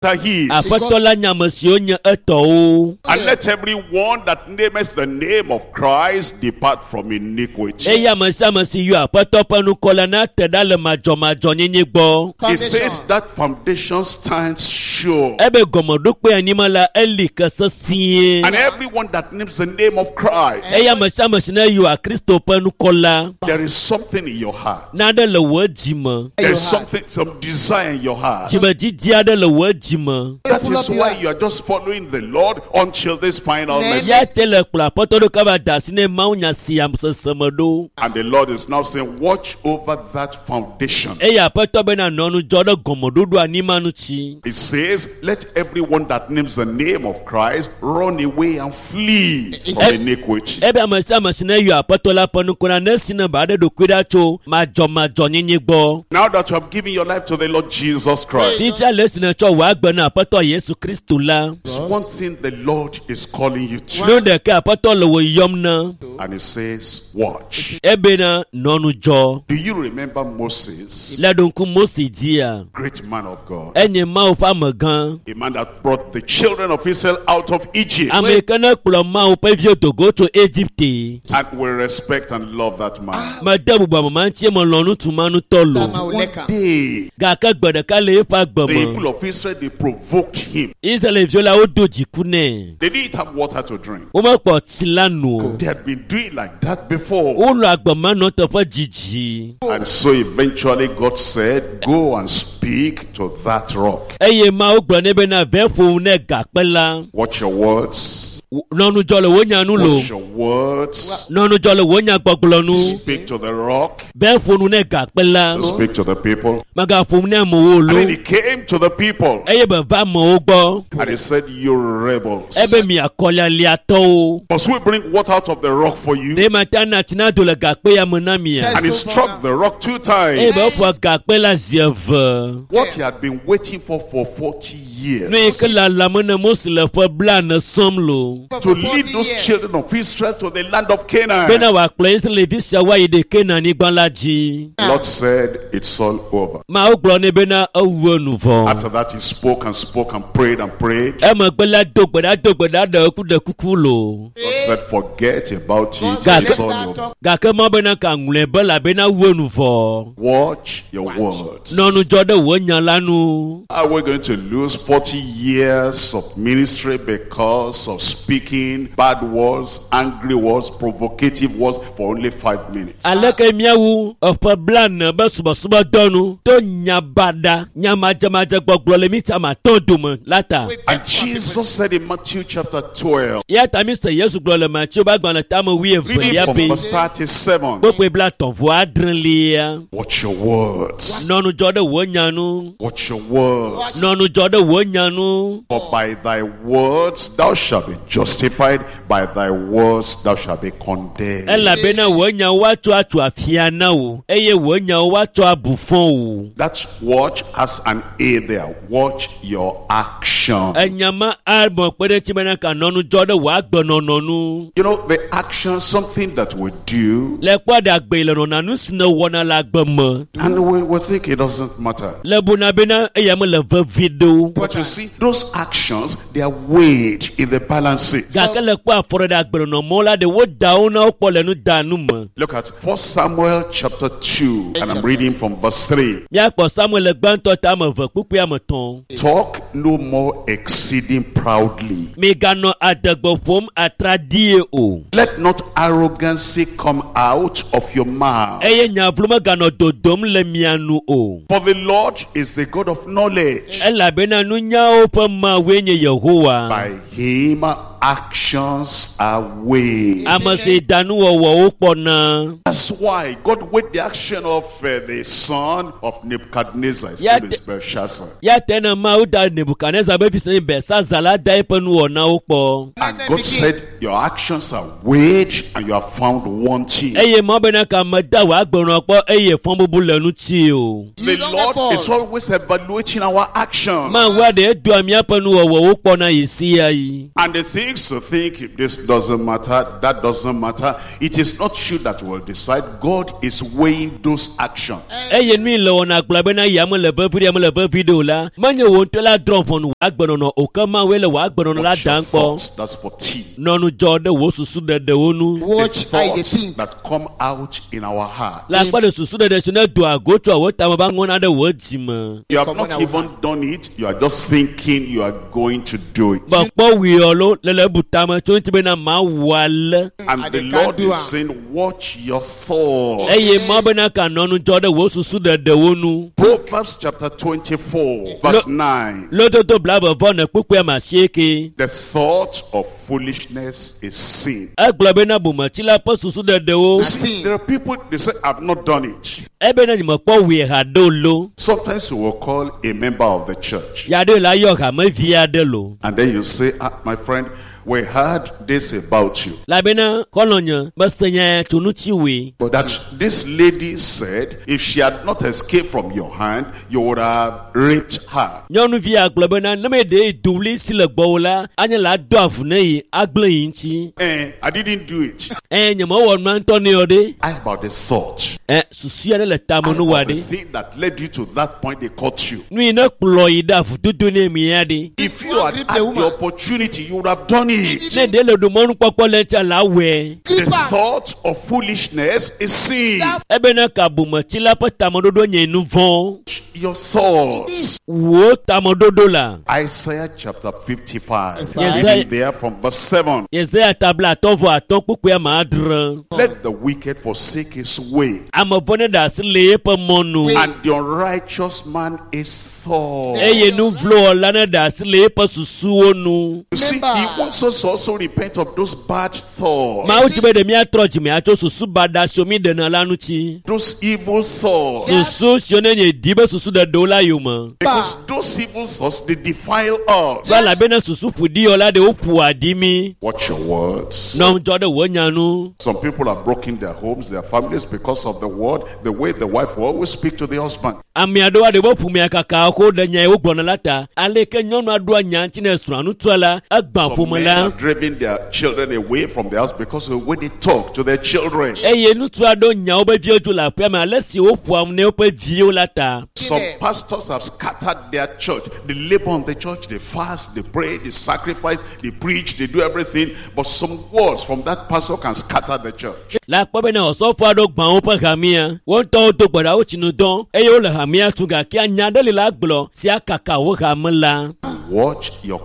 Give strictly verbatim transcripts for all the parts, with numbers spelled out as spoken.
are his. Aƒetɔ la nya ame siwo nye etɔwo. And let everyone that nameth the name of Christ depart from iniquity. Eye ame sia ame si yɔ Aƒetɔ ƒe ŋkɔ la nate ɖa le madzɔmadzɔnyenye gbɔ. It says that foundation stands sure. Ebe gɔmeɖokpe anyima la eli ke sesĩe. And everyone that names the name of Christ, Eye ame sia ame si ne yɔa Kristo ƒe ŋkɔ la, there is something in your heart. naɖe le wò dzi me. There is something, some desire in your heart. Dzimedidi aɖe le wò dzi me. That is why you are just following the Lord until this final message. Ya te le kplɔ Aƒetɔ ɖo kaba da asi ne mawunya sia sese me ɖo. And the Lord is now saying, watch over that foundation. Eye Aƒetɔ bena nɔ ŋudzɔ ɖe gɔmeɖoɖo anyima ŋuti. It says, let everyone that names the name of Christ run away and flee from iniquity. Ebe ame sia ame si ne yɔ Aƒetɔ la ƒe ŋkɔ la nesi ne ba ɖe ɖokui ɖa tso madzɔmadzɔnyenye gbɔ. Now that you have given your life to the Lord Jesus Christ, Fifia le esi netsɔ wò agbe na Aƒetɔ Yesu Kristo la, it's one thing the Lord is calling you to. nu ɖeka Aƒetɔ le wò yɔm na. And he says, watch. Ebena nɔ ŋudzɔ. Do you remember Moses, Le ɖo ŋku Mose dzia, great man of God? enye Mawu ƒe amegã. A man that brought the children of Israel out of Egypt. Ame yi ke ne kplɔ Mawu ƒe viwo do go tso Egipte. And we respect and love that man. Mede bubu ame ma ŋuti melɔ̃ ŋutsu ma ŋutɔ lo. One day, Gake gbe ɖeka le eƒe agbe the me, people of Israel, they provoked him. Israelviwo la wodo dziku nɛ. They didn't have water to drink. Womekpɔ tsi la nu o. They had been doing like that before. Wonɔ agbe ma nɔ teƒe dzidzi. And so eventually God said, go and speak to that rock. Eye Mawu gblɔ nɛ bena vɛ ƒo ne gakpe la. Watch your words. Nɔ ŋudzɔ le wò nya nu lo. Watch your words. Nɔ ŋudzɔ le wò nyagbɔgblɔ nu. Speak to the rock. Vɛ ƒo nu ne gakpe la. Speak to the people. Magaƒo nu ne amewo And lo. then he came to the people Eye be va amewo gbɔ. and he said, you rebels. Ebe mi akɔlialiatɔwo. Must we bring water out of the rock for you? Ɖe mate ana tsi na do le gakpe ya me na mia? And he struck the rock two Eye times. be eƒo gakpe la zi eve. What he had been waiting for for forty years. Nu yi ke lalam ne Mose le ƒe blaene sɔm lo. To lead those children of Israel to the land of Canaan. Bena wòakplɔ Israelvi siawo ayi ɖe Kenan-nyigba la dzi. The Lord said, it's all over. Mawu gblɔ nɛ bena ewu enu vɔ. After that, he spoke and spoke and prayed and prayed. Emegbe la do gbe ɖa do gbe ɖa ɖe eku ɖe kuku lo. God said, forget about it. God. It's all over. Gake Mawu bena ka ŋlɔe be elabena ewu enu vɔ. Watch your words. Nɔ ŋudzɔ ɖe wò nya la nu. Are we going to lose forty years of ministry because of speaking bad words, angry words, provocative words for only five minutes? Aleke míawu eƒe blaene be subɔsubɔdɔ nu to nya baɖa, nya madzemadze gbɔgblɔ le mí ame atɔ̃ dome la ta. And Jesus said in Matthew chapter twelve, Ya ta mi se Yesu gblɔ le Mateo ƒe agbalẽ tame reading wuievelia from be verse thirty-seven, kpukpui blaetɔ̃ vɔ adrelia. watch your words. Nɔ ŋudzɔ ɖe wò nya nu. Watch your words. Nɔ ŋudzɔ ɖe wò nya nu. For by thy words thou shalt be justified, by thy words thou shalt be condemned. Elabena wò nyawo woatsɔ atso afia na wò eye wò nyawo woatsɔ abu fɔ wò. That watch has an A there. Watch your action. Enya ma amɔ kpe ɖe ŋuti bena ka nɔ ŋudzɔ ɖe wò agbenɔnɔ nu. You know, the action, something that we do, Le kpɔ ɖe agbe le nɔna nu si ne wɔna le agbe me. and we, we think it doesn't matter. Le buna bena eya mele vevi ɖo. But you see, those actions, they are weighed in the balances. Gake le kpɔ afɔ ɖe agbenɔnɔmɔ la ɖe woda wo na wokpɔ le nudanu me. Look at First Samuel chapter two, and I'm reading from verse three. Míakpɔ Samuel gbãtɔ ta ame eve kpukpui ame etɔ̃. Talk no more exceeding proudly. Miganɔ adegbe ƒom atraɖie o. Let not arrogancy come out of your mouth. Eye nya vlo meganɔ dodom le mia nu o. For the Lord is the God of knowledge. Elabena nunyawo ƒe Mawue nye Yehowa. By him actions are weighed. Ame si da nuwɔwɔwo kpɔna. That's why God weighed the action of uh, the son of Nebuchadnezzar, his Yeah, name is Belshazzar. Ya te na Mawu da Nebukadnezar be vi si nye Belsaza la da eƒe nuwɔnawo kpɔ. And God said, Your actions are weighed and you are found wanting. Eye mɔ bena ka meda wò agbenɔ kpɔ eye fɔbubu le ŋuti o. The You don't get Lord is fault. always evaluating our actions. Mawu aɖe edoa míaƒe nuwɔwɔwo kpɔna yi sia yi. And the things to think, if this doesn't matter, that doesn't matter. It is not you that will decide. God is weighing those actions. Eye nui le wɔna gblɔ bena ya mele vevi ɖe mele vevi ɖe o la, menye wò ŋutɔ la drɔ̃ ʋɔnu wò agbenɔnɔ o ke Mawue le wò agbenɔnɔ la Watch your dam kpɔ. thoughts, that's for T. Nɔnu dzɔ ɖe wò susu ɖeɖewo nu. The Watch how they thoughts think. that come out in our heart. Le akpa ɖe susu ɖeɖe si ne doa go tsoa wò tame va ŋɔna ɖe wò dzime. You have Come not on, our even done it. You are just thinking you are going to do it. Be kpɔ wuiɔ lo le le ebu tame tso ŋuti bena mawu ale. And And the they can't Lord do is am. saying, watch your thoughts. Eye mɔ bena ka nɔnu dzɔ ɖe wò susu ɖeɖewo nu. Proverbs chapter twenty-four, verse nine. Lododo blaeve vɔ ne kpukpui ame asieke. The thought of foolishness is sin. Egblɔ bena bometsila ƒe susu ɖeɖewo. You see, Sin. there are people, they say, I've not done it. Ebena nyemekpɔ wui haɖe o lo. Sometimes you will call a member of the church. Ya ɖe la yɔ hamevi aɖe lo. And then you say, ah, my friend, we heard this about you. Labena xɔlɔ̃nye mese nya tso ŋuti wòe. That this lady said, if she had not escaped from your hand, you would have raped her. Nyɔnuvi agblɔ bena ne meɖe dowli si le gbɔwò la, anye la do avu ne yi agblẽ yi ŋuti. Eh, I didn't do it. Ɛ nyemewɔ nua ŋutɔ ne yɔ ɖe. How about the thought? Ɛ susu aɖe le tame How nu wa about the ɖe. thing that led you to that point they caught you? Nu yi ne kplɔ yi ɖe avudodo ne mi ya ɖe. If you You had grip had the the woman. opportunity, you would have done it. Ne ɖe le ɖo mɔnukpɔkpɔ le ŋutia la wɔe. The Creeper. thought of foolishness is sin. That Ebena ka bometsila ƒe tameɖoɖo nye nu vɔ̃. Your thoughts. Wò tameɖoɖo la. Isaiah chapter fifty-five. Yes, Reading there from verse seven. Yesaya tabla atɔ̃ vɔ atɔ̃ kpukpui ame adre. Let the wicked forsake his way, Ame vɔ̃ ne ɖe asi le eƒe mɔnu. and the unrighteous man his thoughts. Eye nu vlo wɔla ne ɖe asi le eƒe susuwo nu. You see, Remember. he wants us to also repent of those bad thoughts, Mawu dzi be ɖe míatrɔ dzime atso susu baɖa siwo mi ɖena la ŋuti. those evil thoughts. Susu siwo ne nye di be susu ɖeɖewo la yome. Because those evil thoughts, they defile us. Va elabena susu ƒoɖi la ɖe woƒo aɖi mi. Watch your words. Nɔ ŋudzɔ ɖe wò nya nu. Some people have broken their homes, their families because of the word, the way the wife will always speak to the husband. Ame aɖewo aɖe be ƒomea kaka ko ɖe nya yi wogblɔna la ta. Aleke nyɔnua ɖoa nya ŋuti ne srɔ̃a ŋutsua la, egbã Some ƒome men la. are driving their children away from the house because of the way they talk to their children. Eye ŋutsu aɖewo nya woƒe viwo dzo le aƒea me ale si woƒoa nu ne woƒe viwo la ta. Some pastors have scattered their church. They labor on the church, they fast, they pray, they sacrifice, they preach, they do everything. But some words from that pastor can scatter the church. Le akpɔ bena osɔfo aɖewo gbã woƒe hamea. Wo ŋutɔwo do gbe ɖa wotsi nu dɔm eye wole hamea tu gake nya aɖe li la gblɔ si akaka wo hame la. Watch your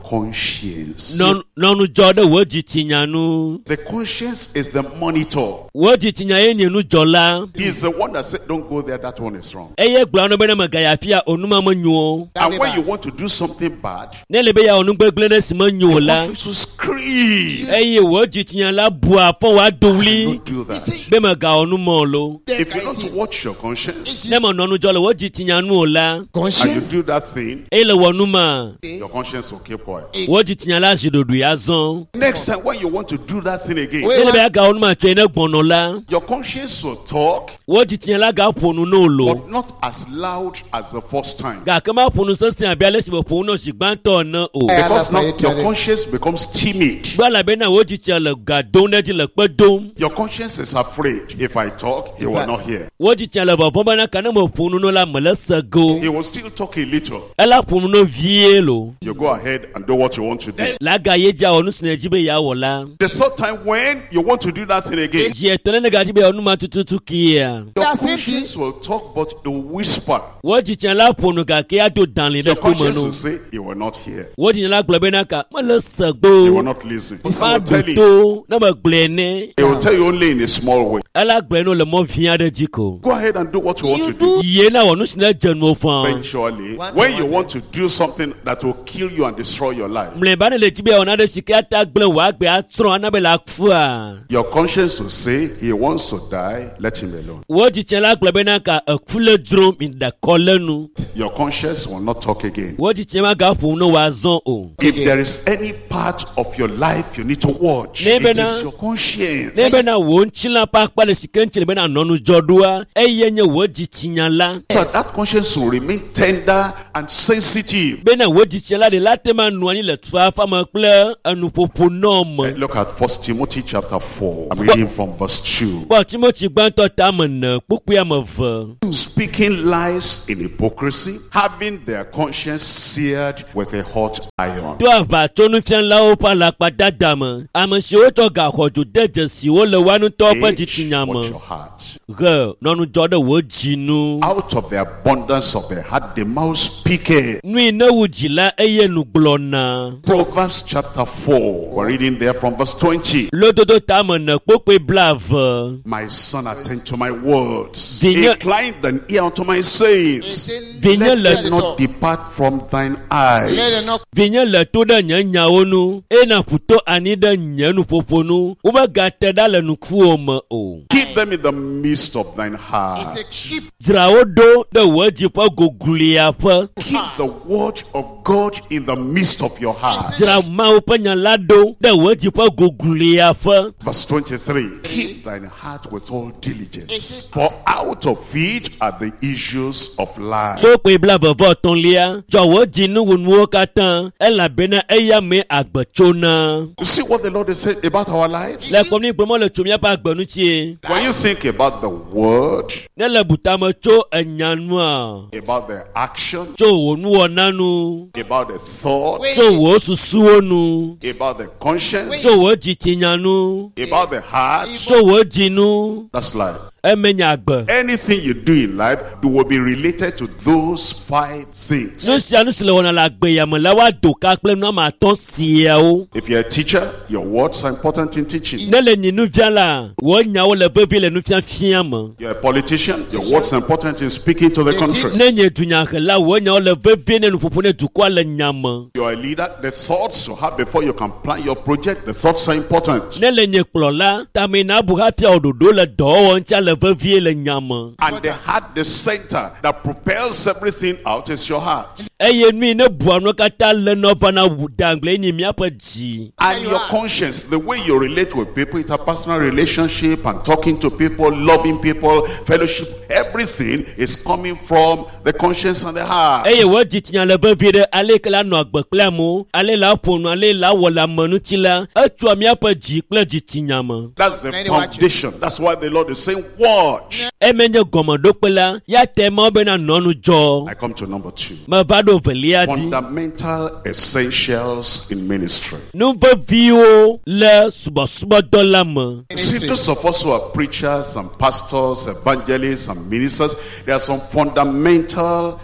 conscience. Nɔ nɔ ŋudzɔ ɖe wò dzitsinya nu. The conscience is the monitor. Wò dzitsinya ye nye nudzɔla. He's the one that said, don't go there, that one is wrong. Eye gblɔ na bena megayi afia o numa menyo o. And when you want to do something bad, Ne le be yeawɔ nu gbegblẽ ɖe si menyo o la, conscience will scream. eye wò dzitsinya la bua fɔ wòado ɣli Don't do that. be megawɔ nu mɔ o lo. If you don't watch your conscience Ne menɔ ŋudzɔ le wò dzitsinya nu o la, and you Conscience. do that thing, eye le wɔ nu ma, your conscience will keep quiet. wò dzitsinya la zi ɖoɖoe azɔ. Next time when you want to do that thing again, Wait. Ne le be yeagawɔ nu ma tsoe ne gbɔnɔ la, your conscience will talk, wò dzitsinya la gaƒo nu ne o lo. but not as loud as the first time. Gake maƒo nu sesẽ abe ale si meƒo nu nɔ zi gbãtɔ ene o. Because now your conscience becomes timid. Gbɔ elabena wò dzitsinya le ga dom ɖe edzi le kpe dom. Your conscience is afraid. If I talk, he will not hear. Wò dzitsinya le vɔvɔ̃m bena ka ne meƒo nu no la mele se ge o. He will still talk a little. Ela ƒo nu no vie lo. You go ahead and do what you want to do. La ga ye dzi awɔ nu si nèdzi be yeawɔ la. The third time when you want to do that thing again, Zi etɔ̃ ne negadzi be yeawɔ nu ma tututu kia. your That same conscience will talk, but it will whisper. Wò dzitsinya la ƒo nu gake ado dalĩ ɖe Your tome conscience no. will say, you will not hear. Wò dzitsinya la gblɔ bena ka mele se You gbo. will not listen. He will Maɖo tell you. to ne megblɔe nɛ. He will tell you only in a small way. Ela gblɔe no le mɔ vi aɖe dzi ko. Go ahead and do what you want You to do. do Yie na wɔ nu si ne dze nuwo fã. Eventually, One when to you one want to do something that will kill you and destroy your life, Mlɔeba ne le dzi be yeawɔ nane si ke ata gblẽ wò agbe atsrɔ̃ ana be le akua. your conscience will say he wants to die, let him alone. Wò dzitsɛ la gblɔ bena ka eku le dzrom mi ɖe kɔ le nu. Your conscience will not talk again. Wò dzitsɛ magaƒo nu wòazɔ o. If there is any part of your life you need to watch, it is your conscience. Ne bena wò ŋutilã ƒe akpa le si ke ŋuti le bena nɔ ŋudzɔ ɖoa, eye nye wò dzitsinya la. So that conscience will remain tender and sensitive. Bena wò dzitsinya la ɖe la te ma nɔ anyi le tufafa me kple enuƒoƒo nɔ me. Look at First Timothy chapter four. I'm reading from verse two. Kpɔ Timothy gbãtɔ tame ene kpukpui ame eve. Speaking lies in hypocrisy, having their conscience seared with a hot iron. To aʋatsonufialawo ƒe alakpadada me, ame siwo tsɔ gaxɔdzo de dzesi wo le woa ŋutɔwo ƒe Age, dzitsinya watch me. your heart. He nɔ ŋudzɔ ɖe wò dzi nu. Out of the abundance of the heart, the mouth speaketh. Nu yi ne wu dzi la eye nu gblɔna. Proverbs chapter four. We're reading there from verse twenty. Lododo tame ene kpukpui blaeve. My son, attend to my words. Vinye- Incline thine ear unto my sayings. Vinye Let le them not depart from thine Let them eyes. not Vinye le to ɖe nye nyawo nu eye nàƒu to anyi ɖe nye nuƒoƒo nu. Womegate ɖa le nukuwò me o. Keep them in the midst of thine heart. It's a keep Dzra wo ɖo ɖe wò dzi ƒe gogloeaƒe. Keep the word of God in the midst of your heart. Dzra Mawu ƒe nya la ɖo ɖe wò dzi ƒe gogloeaƒe. Verse twenty-three. Keep thine heart with all diligence, for out of it are the issues of life. Kpukpui blaeve vɔ etɔ̃lia. Dzɔ wò dzi nuwunuwo katã elabena eya mee agbe tsona. You see what the Lord has said about our lives? Le kpɔm ni gblɔm le tso míaƒe agbe ŋutie. When you think about the word, Ne le butame tso enya nua, about the action, tso wò nuwɔna nu, about the thoughts, tso wò susuwo nu, about the conscience, tso wò dzitsinya nu, about the heart, tso wò dzi nu, that's life. eme nye agbe. Anything you do in life will be related to those five things. Nu sia nu si le wɔna le agbe ya me la woado ka kple nu ame atɔ̃ siawo. If you're a teacher, your words are important in teaching. Ne le nyi nufiala, wò nyawo le vevie le nufiafia me. You're a politician, your words are important in speaking to the country. Ne nye dunyahela, wò nyawo le vevie ne nuƒoƒo ne dukɔa le nya me. You're a leader, the thoughts you have before you can plan your project, the thoughts are important. Ne le nye kplɔla, tame na bu hafi awɔ ɖoɖo le dɔwɔwɔ ŋutia le vevie le nya me. And the heart, the center that propels everything out is your heart. Eye nu yi ne bua nuwo katã le nɔ vana wu dagble nyi míaƒe dzi. And your conscience, the way you relate with people, interpersonal relationship and talking to people, loving people, fellowship, everything is coming from the conscience and the heart. Eye wò dzitsinya le vevie ɖe ale yi ke la nɔ agbe kple amewo, ale la ƒo nu, ale la wɔ le ame ŋuti la, etsoa míaƒe dzi kple dzitsinya me. That's the Many watch it. foundation. That's why the Lord is saying, watch. Eme nye gɔmeɖokpe la, ya te Mawu bena nɔ nu dzɔ. I come to number two. Meva ɖo velia dzi. Fundamental essentials in ministry. Nu veviwo le subɔsubɔdɔ la me. You see, those of us who are preachers and pastors, evangelists and ministers, there are some fundamental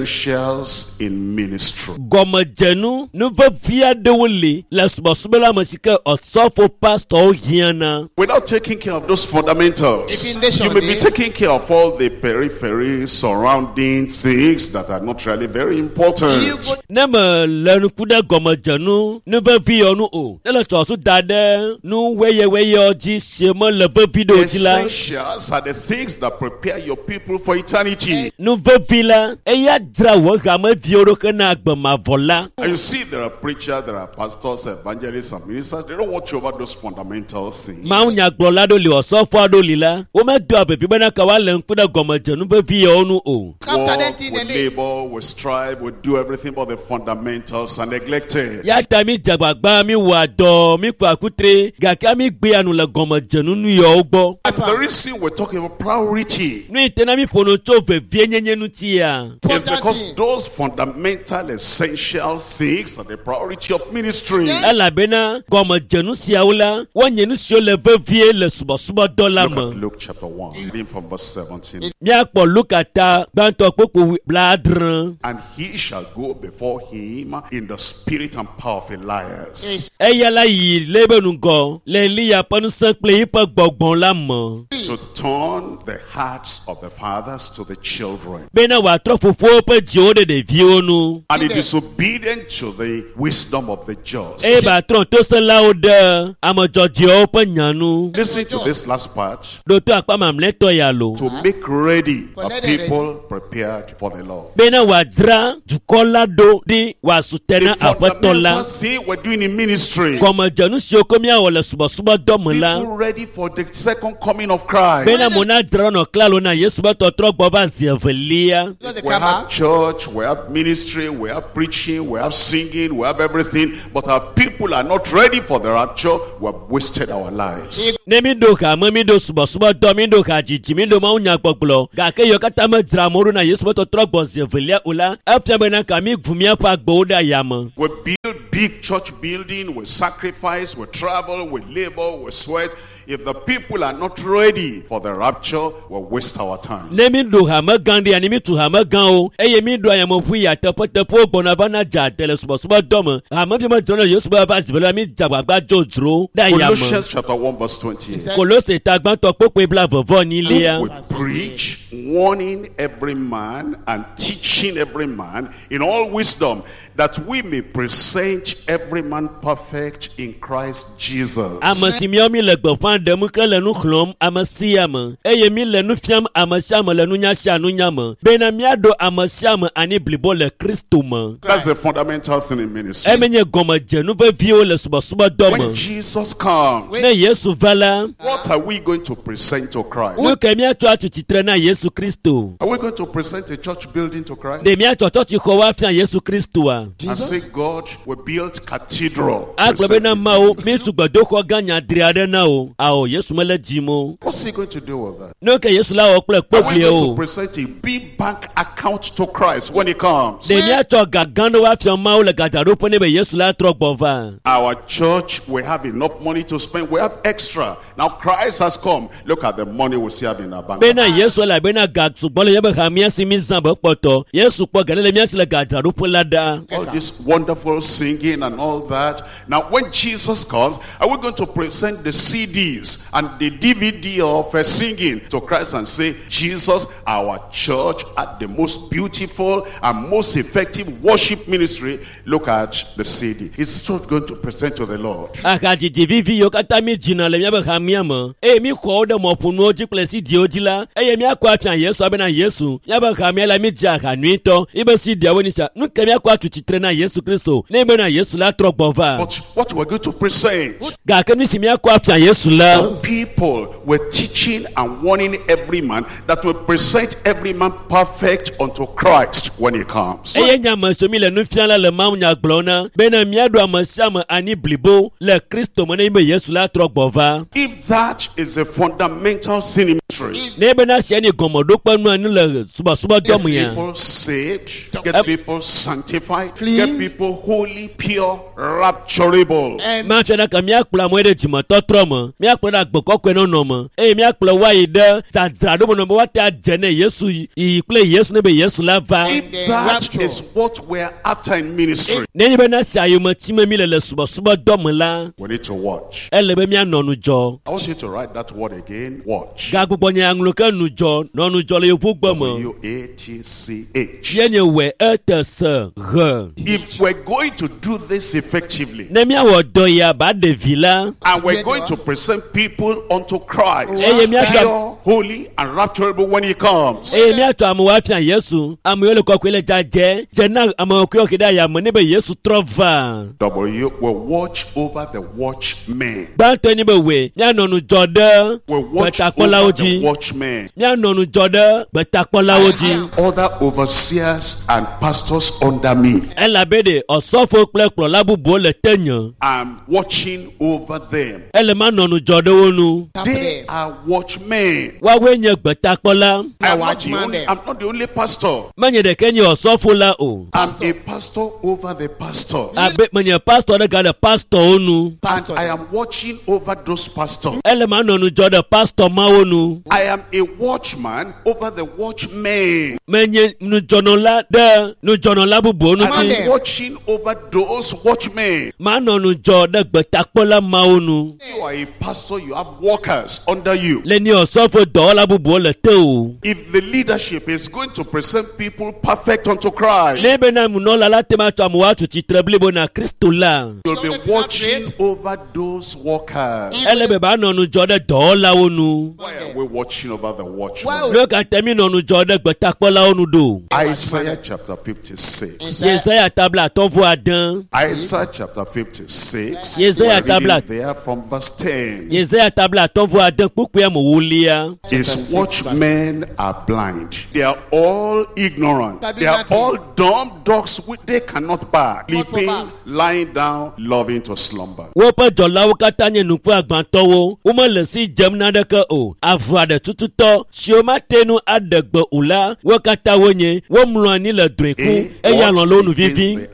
essentials in ministry. Gɔmedzenu, nu vevi aɖewo li le subɔsubɔ la me si ke osɔfo pastɔwo hiãna. Without taking care of those fundamentals, If in nation, you may be eh? taking care of all the periphery surrounding things that are not really very important. You go Ne me le ŋku ɖe gɔmedzenu nu vevi yɔ nu o, ne le tsɔsu da ɖe nu weyeweyɔ dzi si mele vevi ɖe o dzi la, Essentials are the things that prepare your people for eternity. nu vevi la, eya dzra wò hameviwo ɖo hena agbe mavɔ la. And you see, there are preachers, there are pastors, evangelists, and ministers. They don't watch over those fundamental things. Mawunyagblɔla ɖewo li, osɔfo aɖewo li la, womedoa vevi bena ka woalé ŋku ɖe gɔmedzenu vevi yawo nu o. after Work, that in we the name. labor, we strive, we do everything, but the fundamentals are neglected. Ya ta mi dze agbagba, mi wɔa dɔ, mi kua kutre, gake mi gbea nu le gɔmedzenu nu yawo gbɔ. And the reason we're talking about priority Nu yi te na mi ƒo nu tso vevienyenye ŋutia. is Important because thing. those fundamental essential things are the priority of ministry. Elabena gɔmedzenu siawo la, wonye nu siwo le vevie le subɔsubɔdɔ la Look at me. Luke chapter one, reading from from verse seventeen. Míakpɔ Luka ta gbãtɔ kpokpo blaadre. And he shall go before him in the spirit and power of Elias, Eya la yi le ebe ŋgɔ le Eliya ƒe ŋusẽ kple eƒe gbɔgbɔ la me. to turn the hearts of the fathers to the children, Bena wòatrɔ fofowo ƒe dziwo ɖe ɖeviwo nu. and the disobedient to the wisdom of the just. Eye wòatrɔ tosẽlawo ɖe ame dzɔdzɔewo ƒe nya nu. Listen to this last part. Ɖo to akpa mamlɛtɔ ya lo. To make ready a people prepared for the Lord. Bena wòadzra dukɔ la ɖo ɖi wòasu te The na aƒetɔ la. fundamental thing we're doing in ministry. Gɔmedzenu siwo ko míawɔ le subɔsubɔdɔ me la. People ready for the second coming of Christ. Bena mo na dzra nɔ klalo na Yesu be tɔtrɔ gbɔ va zi evelia. We have church, we have ministry, we have preaching, we have singing, we have everything, but our people are not ready for the rapture. We have wasted our lives. Ne mi ɖo hame, mi ɖo subɔsubɔdɔ, mi ɖo hadzidzi, mi ɖo mawunyagbɔgblɔ gake yiwo katã medzra amewo ɖo na Yesu be tɔtrɔ gbɔ zi evelia o la, efia bena ka mi ʋu míaƒe agbewo ɖe ayame. We build big church building, we sacrifice, we travel, we labor, we sweat. If the people are not ready for the rapture, we waste our time. Ne mi ɖo hame gã ɖea, ne mi tu hame gãwo eye mi ɖo ayameʋu yia teƒeteƒewo gbɔna va na dza ade le subɔsubɔdɔ me, hame fi medzra na Yesu be va zi evelia mi dze agbagba dzodzro ɖe ayame. Colossians chapter one verse twenty-eight. Kolose ta gbãtɔ kpokpoe blaeve vɔ enyilia. We preach, warning every man and teaching every man in all wisdom, that we may present every man perfect in Christ Jesus. Ame si míawo mi le gbeƒã ɖem ke le nu xlɔm ame sia ame eye mi le nu fiam ame sia ame le nunya sia nunya me bena míaɖo ame sia ame ani blibo le Kristo me. That's the fundamental thing in ministry. Eme nye gɔmedzenu veviwo le subɔsubɔdɔ When me. Jesus comes, Ne Yesu va la, what are we going to present to Christ? nu ke míatsɔ atu tsitre na Yesu Kristo? Are we going to present a church building to Christ? Ɖe míatsɔ tsɔtsixɔwo afia Yesu Kristoa? And say, God, we built cathedral. Agblɔ Present bena it. Mawu, míetu gbedoxɔ gã nyadri aɖe na wo. Ao, Yesu mele dzim o. What's he going to do with that? Nu ke Yesu la wɔ kple Are we going kpogbliewo? to present a big bank account to Christ when he comes? Ɖe míatsɔ ga gã ɖewo afia Mawu le gadzraɖoƒe ne be Yesu la trɔ gbɔ va? Our church, we have enough money to spend. We have extra. Now Christ has come. Look at the money we still have in our bank. Bena Yesu elabena ga sugbɔ le míaƒe hamea si mi zã be kpɔtɔ. Yesu kpɔ ga ɖe le mía si le gadzraɖoƒe la ɖa. All this wonderful singing and all that. Now, when Jesus comes, are we going to present the C Ds and the D V D of uh, singing to Christ and say, Jesus, our church at the most beautiful and most effective worship ministry? Look at the C D. It's not going to present to the Lord. Ahadzidzi vivi yiwo katã mi dzina le míaƒe hamea me eye mi xɔ wo ɖe mɔƒonuwo dzi kple C D-wo dzi la eye míakɔ afia Yesu abena Yesu míaƒe hamea la mi dzi aha nyuitɔ ibe C D-awo ni sia nu ke míakɔ atu tsitre na Yesu Kristo ne bena Yesu la trɔ gbɔ va. But what we're going to present, Gake nu si míakɔ afia Yesu la, people were teaching and warning every man that will present every man perfect unto Christ when he comes. eye nye ame siwo mi le nu fiam la le mawunya gblɔm na bena míaɖo ame sia ame ani blibo le Kristo me ne be Yesu la trɔ gbɔ va. If that is the fundamental sin in ministry, Ne bena sia ni gɔmeɖokpe nu ani le subɔsubɔdɔ get me ya. people saved, get people sanctified, Clean. get people holy, pure, rapturable. And Mafia na ka míakplɔ amewo ɖe dzimetɔtrɔ me, míakplɔ ɖe agbe kɔkɔe nɔnɔ me eye míakplɔ woayi ɖe dzadzraɖo me nɔ be woate adze ne Yesu yiyi kple Yesu ne be Yesu la va. If then that rapture. is what we're after in ministry, Ne nye bena sia yome time mi le le subɔsubɔdɔ me la, we need to watch. ele be míanɔ nudzɔ. I want you to write that word again. Watch. Gagbugbɔ nye aŋlɔ ke nudzɔ, nɔ nudzɔ le yevugbe me. W A T C H. Ye nye wɛ ete se he. If we're going to do this effectively, Ne míawɔ dɔ ya ba ɖevi la, and we're going to present people unto Christ, Eye míatsɔ pure, holy, and rapturable when he comes. eye míatsɔ amewo afia Yesu, amewo le kɔkɔe le dzadzɛ, dze na ame kɔkɔewo ke ɖe ayame ne be Yesu trɔ va. W will watch over the watchmen. Gbãtɔe nye be wɛ míanɔ nudzɔ ɖe Will watch gbetakpɔlawo over the dzi. watchmen. Míanɔ nudzɔ ɖe gbetakpɔlawo dzi. Other overseers and pastors under me. Elabe ɖe ɔsɔfo kple kplɔla bubuwo le tenye. I'm watching over them. Ele manɔ nudzɔ ɖe wo nu. They are watchmen. Woawoe nye gbetakpɔla. I am, not the watchman only, there. I'm not the only pastor. Menye ɖeke nye ɔsɔfo la o. I'm a pastor over the pastors. Abe menye pastɔ ɖe gale pastɔwo nu. And Pastor. I am watching over those pastors. Ele manɔ ŋudzɔ ɖe pastɔ mawo nu. I am a watchman over the watchmen. Menye ŋudzɔnɔla ɖe ŋudzɔnɔla bubuwo And ŋuti. I'm watching over those watchmen. Manɔ ŋudzɔ ɖe gbetakpɔla mawo nu. You are a pastor, you have workers under you. Le ni ɔsɔfo dɔwɔla bubuwo le te o. If the leadership is going to present people perfect unto Christ, Ne bena nunɔla la te ma tsɔ amewo atu tsitre blibo na Kristo la. you'll be watching over those workers. Ele be ba nɔ ŋudzɔ ɖe dɔwɔlawo nu. Why are we watching over the watchmen? Why Nu ka ta mi nɔ ŋudzɔ ɖe gbetakpɔlawo nu ɖo? Isaiah chapter fifty-six. Yesaya tabla atɔ̃ vɔ ade. Isaiah chapter fifty-six. Yesaya We're reading tabla. there from verse ten. Yesaya tabla atɔ̃ vɔ ade kpukpui amewolia. His Chapter six, watchmen are blind. They are all ignorant. Can do They are nothing. all dumb dogs which they cannot bark. Not for Sleeping, bark. lying down, loving to slumber. Woƒe dzɔlawo katã nye nuƒe agbãtɔwo. Womele si dzem naneke o. Avu aɖe tututɔ siwo mate ŋu aɖe gbe o la, wo katã wonye. Womlɔ anyi le drɔ̃e kum A, eye alɔ̃ le wo nu watch against vivi. the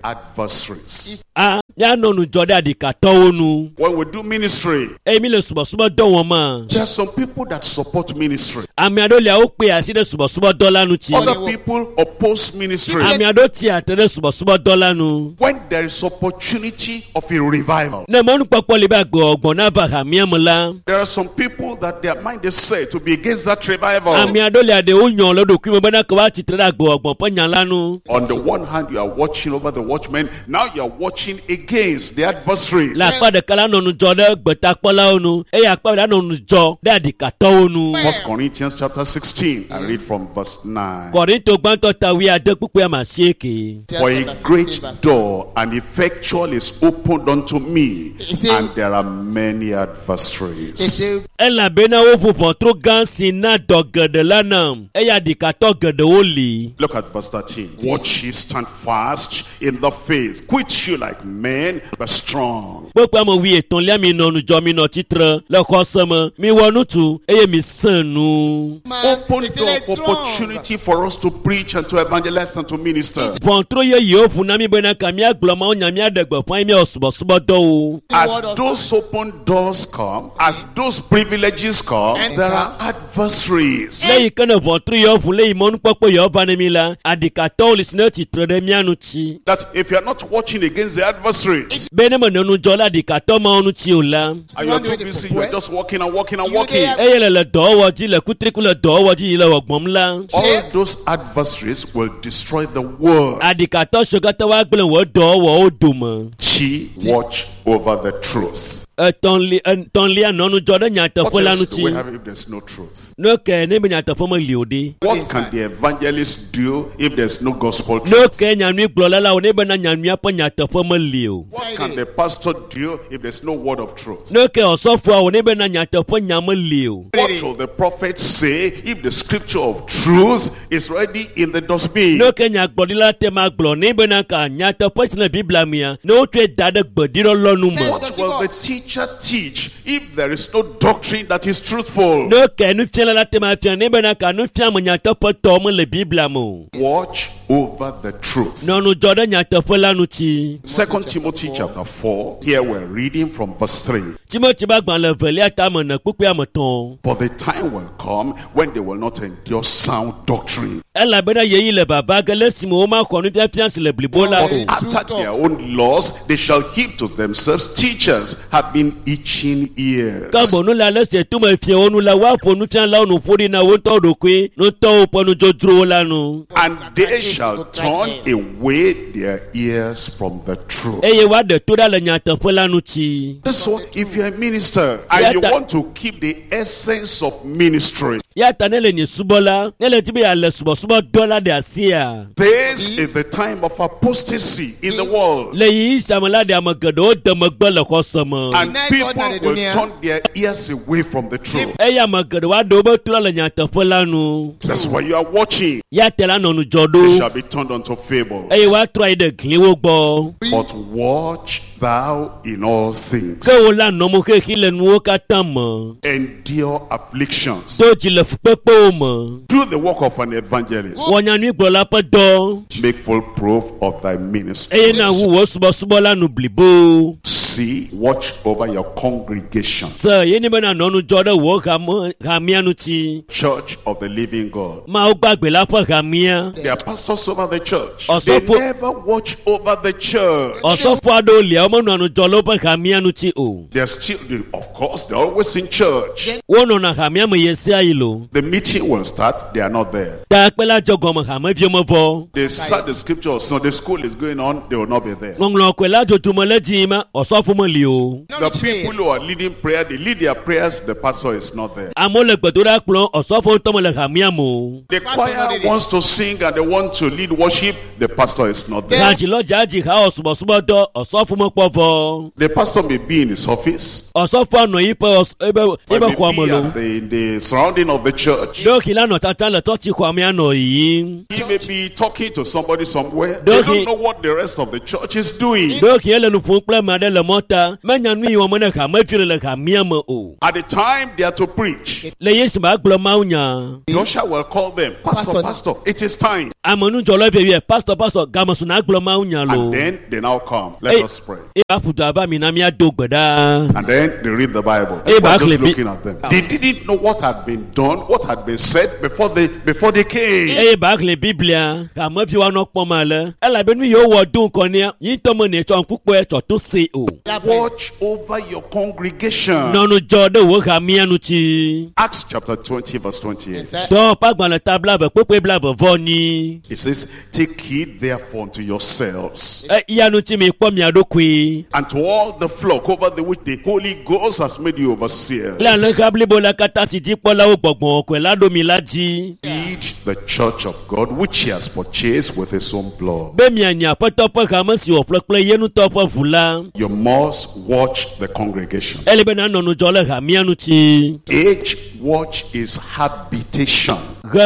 adversaries. A míanɔ ŋudzɔ ɖe aɖikatɔwo nu. When we do ministry, Eye mi le subɔsubɔdɔ wɔm ma, there are some people that support ministry. ame aɖewo lia wokpe asi ɖe subɔsubɔdɔ la ŋuti. Other people oppose ministry. Ame aɖewo tsi atre ɖe subɔsubɔdɔ la nu. When there is opportunity of a revival, Ne mɔnukpɔkpɔ li be agbewɔgbɔ nava hamea me la, there are some people that their mind is set to be against that revival. ame aɖewo lia ɖewo nyɔ le ɖokui me bena ke woatsi tre ɖe agbewɔgbɔ ƒe nya la nu. On the one hand, you are watching over the watchmen. Now you are watching against the adversary. Le akpa ɖeka la nɔ ŋudzɔ ɖe gbetakpɔlawo nu eye akpa ɖeka nɔ ŋudzɔ ɖe aɖikatɔwo nu. First Corinthians chapter sixteen. I read from verse nine. Kɔrinto gbãtɔ ta wuiade kpukpui ame asieke. For a great door and effectual is opened unto me, He and there are many adversaries. Elabena woʋu ʋɔtru gã si na dɔ geɖe la nam eye aɖikatɔ geɖewo li. Look at verse thirteen. Watch ye stand fast in the faith. Quit you like men, but strong. Kpukpui ame wuietɔ̃lia mi nɔ ŋudzɔ mi nɔ tsitre le xɔse me mi wɔ nutu eye mi sẽ nu. Open door of opportunity for us to preach and to evangelize and to minister. Ʋɔtru yeyewo ʋu na mi bena ka míagblɔ Mawu nya míaɖe gbeƒã ye míawɔ subɔsubɔdɔwo. As those open doors come, as those privileges come, And there are adversaries. Le yi ke ne ʋɔtru yewo ʋu le yi mɔnukpɔkpɔ yewo va ne mi la, aɖikatɔwo li si ne tsitre ɖe mía ŋuti. That if you are not watching against the adversaries, Be ne menɔ ŋudzɔ ɖe aɖikatɔ mawo ŋuti o la, and you are too busy, you are just walking and walking and You walking. there- eye le le dɔwɔwɔ dzi le kutriku le dɔwɔwɔ dzi yi le wɔgbɔm la, All those adversaries will destroy the world. aɖikatɔ siwo katã woagblẽ wò dɔwɔwɔwo dome. She watch over the truth. Etɔ̃li etɔ̃lia nɔ ŋudzɔ ɖe What nyateƒe la else do we ŋuti. have if there's no truth? Ne ke ne be nyateƒe meli o ɖe. What can the evangelist do if there's no gospel Ne truth? ke nyanyuigblɔla la wò ne bena nyanyuia ƒe nyateƒe meli o. What can the pastor do if there's no word of truth? Ne ke ɔsɔfoa wò ne bena nyateƒe nya meli o. What will the prophet say if the scripture of truth is already in the dustbin? Ne ke nyagblɔɖila te ma gblɔ ne bena ka nyateƒe si le Biblia mea, ne wotsɔe da ɖe gbeɖiɖɔlɔ nu me. What will the teacher teach if there is no doctrine that is truthful? Ne ke nufiala la te ma fia ne bena ka nufiame nyateƒetɔ mele Biblia me o. Watch over the truth. Nɔ ŋudzɔ ɖe nyateƒe la ŋuti. Second Timothy chapter four, here we're reading from verse three. Timothy ƒe agbalẽ evelia tame ene kpukpui ame etɔ̃. For the time will come when they will not endure sound doctrine, Elabena ɣeyiɣi le vava ge le esime womaxɔ nufiafia si le blibo la but o. after their own laws they shall heap to themselves teachers having itching ears. Ke boŋ nu le ale si tome fiawo nu la, woaƒo nufialawo nu ƒo ɖi na wo ŋutɔwo ɖokui, ŋutɔwo ƒe nudzodzrowo la nu. And they shall turn away their ears from the truth. Eye woaɖe to ɖa le nyateƒe la ŋuti. That's why if you're a minister and you want to keep the essence of ministry, Ya ta ne le nye subɔla, ne le di be yeale subɔsubɔdɔ la ɖe asia. this is the time of apostasy in the world. Le ɣeyiɣi sia me la ɖe ame geɖewo de megbe le xɔse me. And people will turn their ears away from the truth. Eye ame geɖewo aɖe wobe to ɖa le nyateƒe la nu. That's why you are watching. Ya te la nɔ ŋudzɔ They ɖo shall be turned unto fables. eye woatrɔ ayi ɖe gliwo gbɔ. But watch thou in all things. Ke wo la nɔ mo xexi le nuwo katã me. Endure afflictions. Do dzi le Le fukpekpewo me. Do the work of an evangelist. Wɔ nyanyuigblɔla ƒe dɔ. Make full proof of thy ministry. Eye na wu wò subɔsubɔ la nu blibo. See, watch over your congregation. Se ye ni bena nɔ ŋudzɔ ɖe wò hame hamea ŋuti. Church of the living God. Mawu gbagbe la ƒe hamea. There are pastors over the church. Also They for- never watch over the church. Ɔsɔfo aɖewo lia womenɔa ŋudzɔ le woƒe hamea ŋuti o. They're still, of course, they're always in church. Wonɔna hamea me ɣe sia ɣi lo. The meeting will start, they are not there. Takpe la dzɔ gɔme hameviwo mevɔ. They start the scripture, Sunday school is going on, they will not be there. Ŋɔŋlɔ kɔe la dzodzome le dzi ma ɔsɔfo meli o. The people who are leading prayer, they lead their prayers, the pastor is not there. Amewo le gbedoɖa kplɔm ɔsɔfo ŋutɔ mele hamea me o. The choir wants to sing and they want to lead worship, the pastor is not there. Hadzilɔdza dzi ha wɔ subɔsubɔdɔ ɔsɔfo mekpɔ vɔ. The pastor may be in his office, Ɔsɔfoa nɔ yiƒe ɔs ebe or ebe may xɔa me be lo. at the, in the surrounding of the church. Ɖewohĩ la nɔ tata le tsɔtsi xɔa mea nɔ yiyim. He may be talking to somebody somewhere. They Don't don't he- know what the rest of the church is doing. Ɖewohĩ ele nu ƒom kple ame aɖe le mɔta. Menya nu yi wɔm ne hamevi le le hamea me o. At the time they are to preach, Le Yesu ma gblɔ Mawu nya. the usher will call them, Pastor, Pastor. Pastor, it is time. Amenudzɔla vievie pastor pastor game su na gblɔ Mawu nya lo. And then they now come. Let Hey. us pray. Eye aƒu du ava mi na míado gbe ɖa. And then they read the Bible. Hey, People are Barclay, just be- looking at them. They didn't know what had been done, what had been said before they before they came. Eye ba xlẽ Biblia hamevi woanɔ kpɔm ale elabe nu yiwo wɔ do ŋkɔ nea yi ŋutɔ me ne tsɔ ŋku kpɔe tsɔ to se o. Watch over your congregation. Nɔ ŋudzɔ ɖe wò hamea ŋuti. Acts chapter twenty, verse twenty-eight. Dɔwɔƒe agbalẽ ta blaeve kpukpui blaeve vɔ nyi. It says, Take heed therefore unto yourselves E ya ŋuti mi kpɔ mia ɖokui. and to all the flock over the which the Holy Ghost has made you overseers. Le alẽha blibo la katã si dzikpɔlawo gbɔgbɔ kɔe la ɖo mi la dzi. Feed the church of God which he has purchased with his own blood. Be mianyi aƒetɔ ƒe hame si wòƒle kple ye ŋutɔ ƒe ʋu la. You must watch the congregation. Ele be nanɔ ŋudzɔ le hamea ŋuti. H watch is habitation. He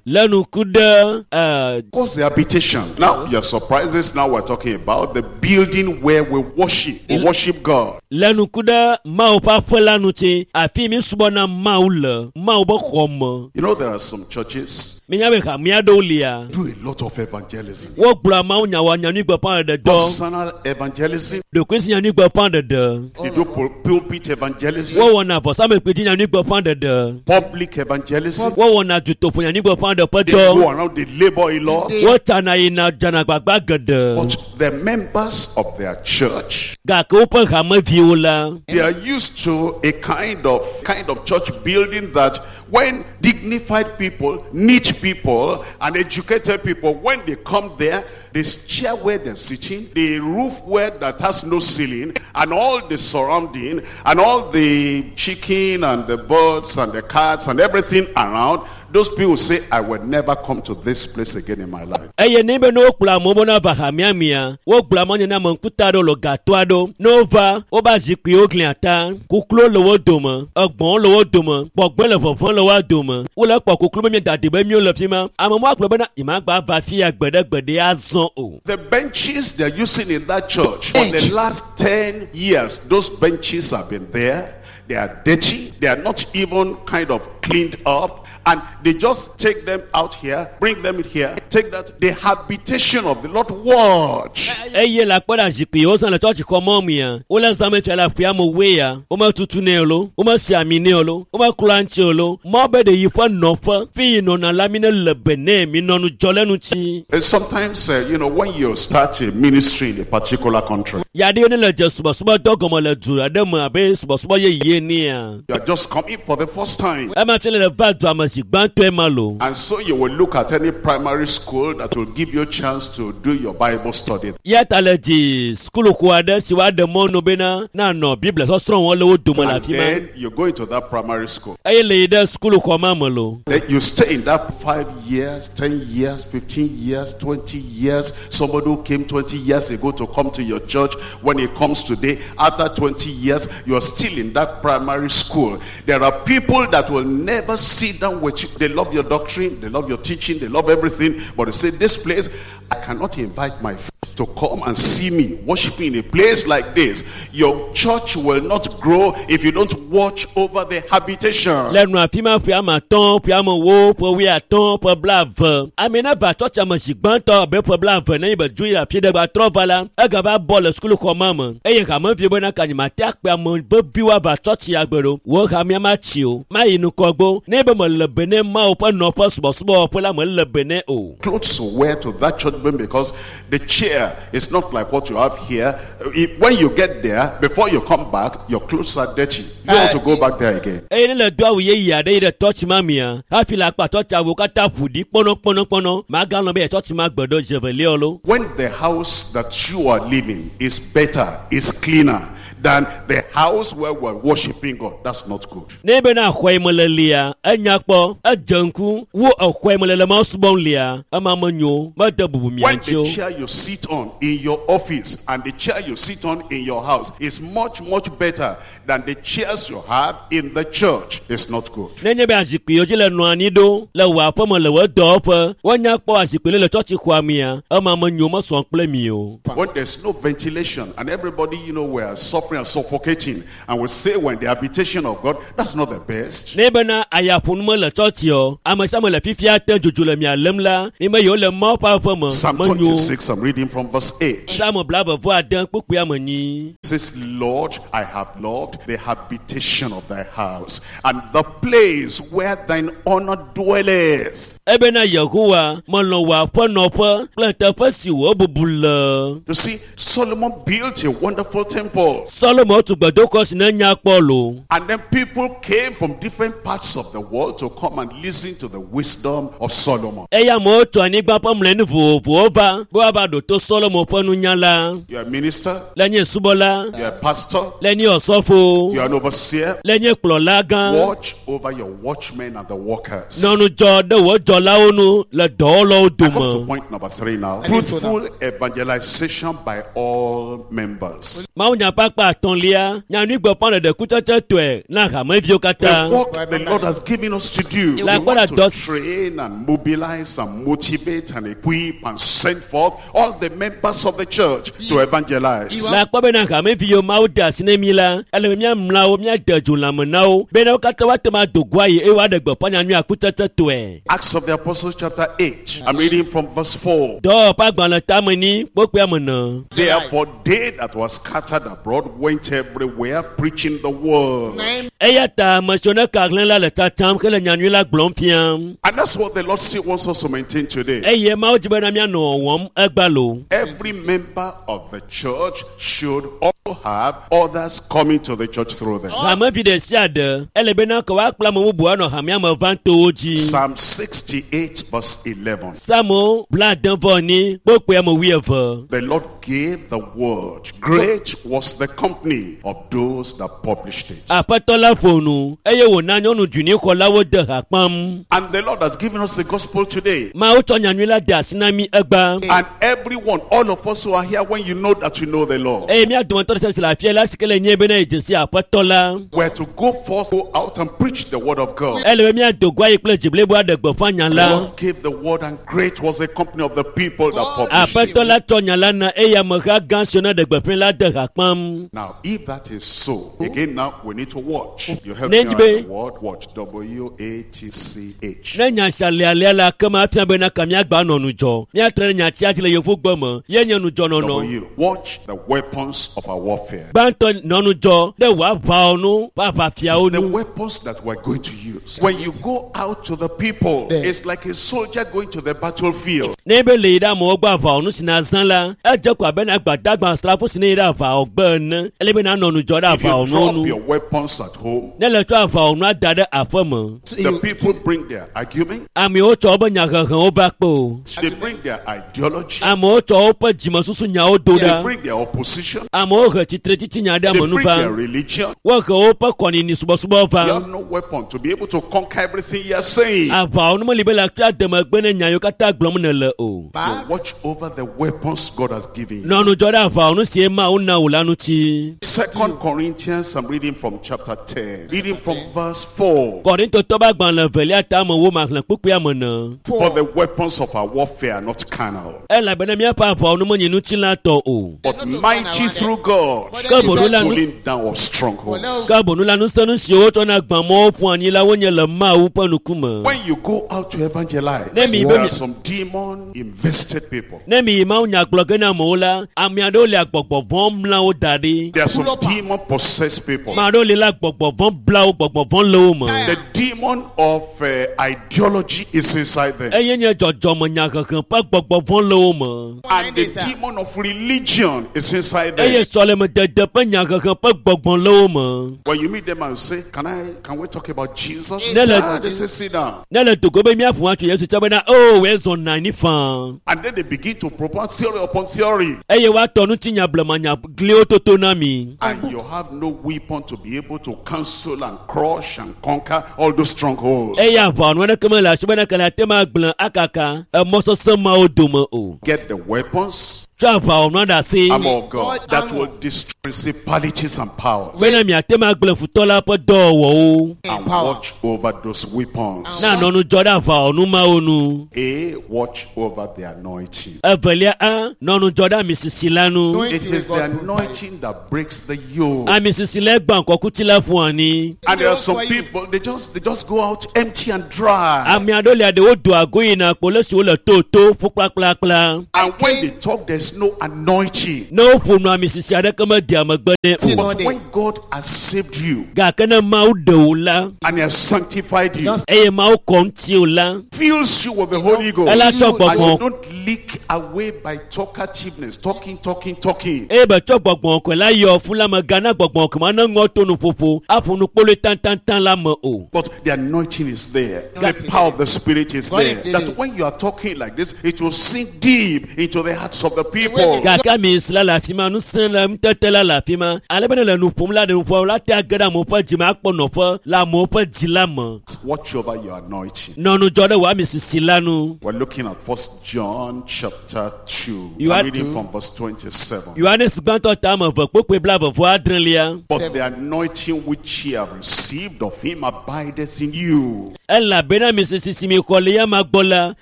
le ŋku ɖe e What's the habitation? Now, your surprises. Now we're talking about the building where we worship. We worship God. le ŋku ɖe Mawu ƒe aƒe la ŋuti afi mi subɔna Mawu le Mawu be xɔ me. You know, there are some churches Minya be hamea ɖewo lia. do a lot of evangelism. Wogblɔa Mawu nya wɔ nyanyuigbeƒãɖeɖe dɔ. Personal evangelism. Ɖokuisi nyanyuigbeƒãɖeɖe. They do pul- pulpit evangelism. Wowɔna vɔsamlekpui dzi nyanyuigbeƒãɖeɖe. Public evangelism. Wowɔna dutoƒo nyanyuigbeƒãɖeɖe ƒe They dɔ. go around, they labor a lot. Wotsana yina dzana gbagba geɖe. But the members of their church, Gake woƒe hameviwo la, they are used to a kind of kind of church building that when dignified people, neat people, and educated people, when they come there, this chair where they're sitting, the roof where that has no ceiling, and all the surrounding, and all the chicken and the birds and the cats and everything around, those people say, I will never come to this place again in my life. eye ne be ne wokplɔ amewo be ne va hamea mea, wogblɔ amewo nye ne ame ŋkuta aɖewo le gatɔ aɖewo. Ne wova, woƒe zikpuiwo glia ta, kukluwo le wo dome, egbɔ̃wo le wo dome, gbɔgbɔe le vɔvɔ̃ le woa dome. Wole kpɔ kuklu be mieda de be míwo le fi ma. Ame ma gblɔ bena nyemagba va fi ya gbeɖegbeɖe azɔ o. The benches they're using in that church for the Bench. last ten years, those benches have been there. They are dirty. They are not even kind of cleaned up. And they just take them out here, bring them in here, take that. The habitation of the Lord, watch. Eye le akpɔ ɖe zikpui yiwo zã le tsɔtsi xɔ mɔ mea, wole zãme fia le aƒea me woe ya, wometutu nɛ o lo, womesi ami nɛ o lo, womeklɔa ŋuti o lo. Mɔ be ɖe yi ƒe nɔƒe, fi yi nɔna la mi ne le be nɛ, mi nɔ ŋudzɔ le ŋuti. And sometimes, uh, you know, when you start a ministry in a particular country, Yaɖewo ne le dze subɔsubɔdɔ gɔme le du aɖe me abe subɔsubɔ yeye nea. you are just coming for the first time. Ema fia le le va dua me zi gbãtɔe ma lo. And so you will look at any primary school that will give you a chance to do your Bible study. Ya ta le di sukuluxɔ aɖe si woaɖe mɔnu bena nanɔ Biblia sɔsrɔ̃ wɔm le wo dome le And afi ma. then you go into that primary school. Eye le yi ɖe sukuluxɔ ma me lo. Then you stay in that five years, ten years, fifteen years, twenty years. Somebody who came twenty years ago to come to your church, when it comes today, after twenty years, you're still in that primary school. There are people that will never sit down with you. They love your doctrine, they love your teaching, they love everything. But they say, this place, I cannot invite my friend to come and see me worshiping in a place like this. Your church will not grow if you don't watch over the habitation. Le nu afi ma ƒe ame atɔ̃, ƒe ame ewo, ƒe wuiatɔ̃, ƒe blaeve. Ame ne va tsɔtsia me zi gbãtɔ abe ƒe blaeve ne yi be dzo yi afi ɖe gba trɔ va la, egava bɔ le sukuluxɔ ma me. Eye hameviwo bena ka nye mate akpe ame veviwo ava tsɔtsia gbe ɖo. Wo hamea matsi o, mayi ŋgɔgbe. Ne be mele be ne Mawu ƒe nɔƒe subɔsubɔwɔƒe la mele be ne o. Clothes to wear to that church building because the chair is not like what you have here. If- When you get there, before you come back, your clothes are dirty. You don't want to go back there again. Eye ne le do awu yeye aɖe yi ɖe tsɔtsi ma mea, hafi le akpa tsɔtsi awu katã ƒo ɖi kpɔnɔkpɔnɔkpɔnɔ. Maganɔ be tsɔtsi ma gbe ɖo zevelia lo. When the house that you are living is better, is cleaner than the house where we're worshiping God, that's not good. Ne bena xɔ yi me le lia, enya kpɔ, edze ŋku, wo exɔ yi me le le Mawu subɔm lia, ema menyo, mede bubu mia When ŋuti o. the chair you sit on in your office and the chair you sit on in your house is much, much better than the chairs you have in the church, it's not good. Nenye be azikpui yiwo dzi le nɔ anyi ɖo le wò aƒeme le wò dɔwɔƒe, woanya kpɔ azikpui le le tsɔtsixɔa mea, ema menyo mesɔ kple mi o. When there's no ventilation and everybody, you know, we're suffering and suffocating, and we say we're in the habitation of God, that's not the best. Ne bena ayaƒonu mele tsɔtsi o, ame sia ame le fifia te dzodzo le mia lém la, mi me yiwo le Mawu ƒe aƒeme Psalm menyo. twenty-six, I'm reading from verse eight. Psalm blaeve vɔ ade kpukpui ame nyi. It says, Lord, I have loved the habitation of thy house and the place where thine honor dwelleth. Ebena Yehowa melɔ̃ wò aƒenɔƒe kple teƒe si wò bubu le. You see, Solomon built a wonderful temple. Solomo tu gbedoxɔ si ne nya kpɔ lo. And then people came from different parts of the world to come and listen to the wisdom of Solomon. Eye amewo tso anyigba ƒe mlɔenu vovovowo va be woava ɖo to Solomo ƒe nunya la. You're a minister, Le nye subɔla, you're a pastor, le nye osɔfo, you're an overseer. le nye kplɔla gã. Watch over your watchmen and the workers. Nɔ ŋudzɔ ɖe wò dzɔlawo nu le dɔwɔlawo I come to dome. point number three now. I think so now. Fruitful evangelization by all members. Mawunya ƒe akpa atɔ̃lia, nyanyuigbeƒãɖeɖe kutsetsetɔe na hameviwo katã. The work the Lord has given us to do. We Like want what to does- train and mobilize and motivate and equip and send forth all the members of the church to evangelize. Le akpɔ bena hameviwo Mawu de asi ne mi la, ele be míamla wo, míade dzo lãme na wo bena wo katã woate ŋu ado go ayi eye woaɖe gbeƒã nyanyuia kutsetsetɔe. Acts of the Apostles chapter eight. I'm reading from verse four. Dɔwɔƒe agbalẽ tame ni kpokpoe ame ene. Therefore they that were scattered abroad went everywhere preaching the word. Nine Eya ta ame siwo ne ka hlẽ la le tsatsam hele nyanyui la gblɔm fiam. And that's what the Lord still wants us to maintain today. Eye Mawu dzi bena míanɔ wɔwɔm egba lo. Every member of the church should also have others coming to the church through them. Hamevi ɖe sia ɖe ele bena ke woakplɔ ame bubu anɔ hamea me vam to wo dzi. Psalm sixty-eight verse eleven. Psalmo blaade vɔ enyi kpokpoe ame wuieve. The Lord gave the word. Great was the company of those that published it. Aƒetɔ la ƒo nu eye wòna nyɔnu dzunixɔlawo de ha kpam. And the Lord has given us the gospel today. Mawu tsɔ nyanyui la de asi na mí egba. And everyone, all of us who are here, when you know that you know the Lord, Eye mía dometɔ ɖe sia si le afia la si ke le nye bena yedze si aƒetɔ la. we're to go forth, go out and preach the word of God. Ele be míado go ayi kple dzi blibo aɖe gbeƒã nya The la. Lord gave the word, and great was the company of the people that published it. Aƒetɔ la tsɔ nya la na eye ameha gã siwo ne ɖe gbeƒã la de ha kpam. Now, if that is so, again now we need to watch. You help me Nenye write be- the word watch. W A T C H. Ne nya sia le alea la ke ma fia bena ka míagba nɔ ŋudzɔ. Míatrɔ ɖe nyatia dzi le yevugbe me ye nye ŋudzɔnɔnɔ. W. Watch the weapons of our warfare. Gbãtɔ nɔ ŋudzɔ ɖe wò aʋawo nu ƒe aʋafiawo The nu. weapons that we're going to use. When you go out to the people, There. it's like a soldier going to the battlefield. Ne be le yi ɖe amewo gbɔ aʋawɔnu si nazã la, edze ko abe na gbadagba asrafo si ne yi ɖe aʋawɔgbe ene. Ele be nanɔ ŋudzɔ ɖe If you aʋawɔnuwo drop nu. your weapons at home, Ne le tsɔ aʋawɔnua da ɖe aƒe me, the people bring their argument, amewo tsɔ woƒe nyahehewo va kpe o. they bring their ideology, Amewo tsɔ woƒe dzimesusu nyawo do they ɖa. bring their opposition, Amewo he tsitretsitsi ɖe they ame nu bring va. their religion. Wohe woƒe kɔnini subɔsubɔ You va. have no weapon to be able to conquer everything you are saying. Aʋawɔnu meli be le akpea de megbe ne nya yiwo katã gblɔm nèle o. You watch over the weapons God has given you. Nɔ ŋudzɔ ɖe aʋawɔnu sie Mawu na wò la ŋuti. Second Corinthians, I'm reading from chapter ten, reading from verse four. Kɔrintotɔ ƒe agbalẽ evelia ta me wo maxlẽ kpukpuia me ne. For the weapons of our warfare are not carnal, Elabena míaƒe aʋawɔnu menye ŋutilãtɔ o. but mighty through God Ke to boŋ the la nu pulling down of strongholds. ke boŋ la ŋusẽnu siwo wotsɔna gbã mɔwo ƒu anyi la wonye le Mawu ƒe ŋkume. When you go out to evangelize, Ne mi be there mi are some demon invested people. ne mi yi Mawu nya gblɔ ge na amewo la, ame aɖewo le agbɔgbɔ vɔ̃ mla wo da ɖi. There are some demon possessed people. Ame aɖewo li la gbɔgbɔ vɔ̃ bla wo, gbɔgbɔ vɔ̃ le wo me. The demon of uh, ideology is inside them. Eye nye dzɔdzɔmenyahehe ƒe gbɔgbɔ vɔ̃ le wo me. And the demon of religion is inside Eye them. sɔlemedede ƒe nyahehe ƒe gbɔgbɔ le wo me. When you meet them and say, Can I can we talk about Jesus? Ne le Ah, they say, sit down. ne le dogo be míaƒo atso Yesu tse bena o wòe zɔ na anyi faa. And then they begin to propose theory upon theory. Eye woatɔ ŋutinya blemanya gliwo toto na mi. And you have no weapon to be able to cancel and crush and conquer all those strongholds. Eye aʋawɔnu aɖeke mele asi bena kele ate ma gblẽ akaka emɔ sesẽ mawo dome o. Get the weapons, Tsɔ aʋawɔnua ɖe asi armor of God, that will destroy principalities and powers. bena miate ma gblẽ futɔ la ƒe dɔwɔwɔwo. And watch over those weapons. Na nɔ ŋudzɔ ɖe aʋawɔnu mawo nu. A, watch over the anointing. Evelia a nɔ ŋudzɔ ɖe amisisi la nu. It is the anointing that breaks the yoke. Amisisi la gbã kɔkuti la ƒu anyi. And there are some people, they just they just go out empty and dry. Ame aɖewo lia ɖewo doa go yina kpo le siwo le toto ƒu kplakplakpla. And when they talk, there's no anointing. Ne woƒo nu amisisi aɖeke medea megbe nɛ o. But when God has saved you Gake ne Mawu ɖe wò la and He has sanctified you, eye Mawu kɔ ŋuti wò la fills you with the Holy Ghost, ela tsɔ and you gbɔgbɔ don't leak away by talkativeness, talking, talking, talking. eye be tsɔ gbɔgbɔ kɔe la yɔ fún la me gana gbɔgbɔ kɔe ma ne ŋɔ to nuƒoƒo aƒo nu kpoloe tãtãtã la me o. But the anointing is there. The power of the Spirit is there. That when you are talking like this, it will sink deep into the hearts of the people. Gake amisisi la le afi ma ŋusẽ le ŋutete la le afi ma ale be ne le nu ƒom la ɖe nuƒoa la te age ɖe amewo ƒe dzime akpɔ nɔƒe le amewo ƒe dzi la me. Watch over your anointing. Nɔ ŋudzɔ ɖe wò amisisi la nu. We're looking at First John chapter two. You I'm are reading two. from verse twenty-seven. Yohanes gbãtɔ ta ame eve kpokpoe blaeve vɔ adrelia. But the anointing which ye have received of him abideth in you, Elabena amisisi si mi xɔ le ya ma gbɔ la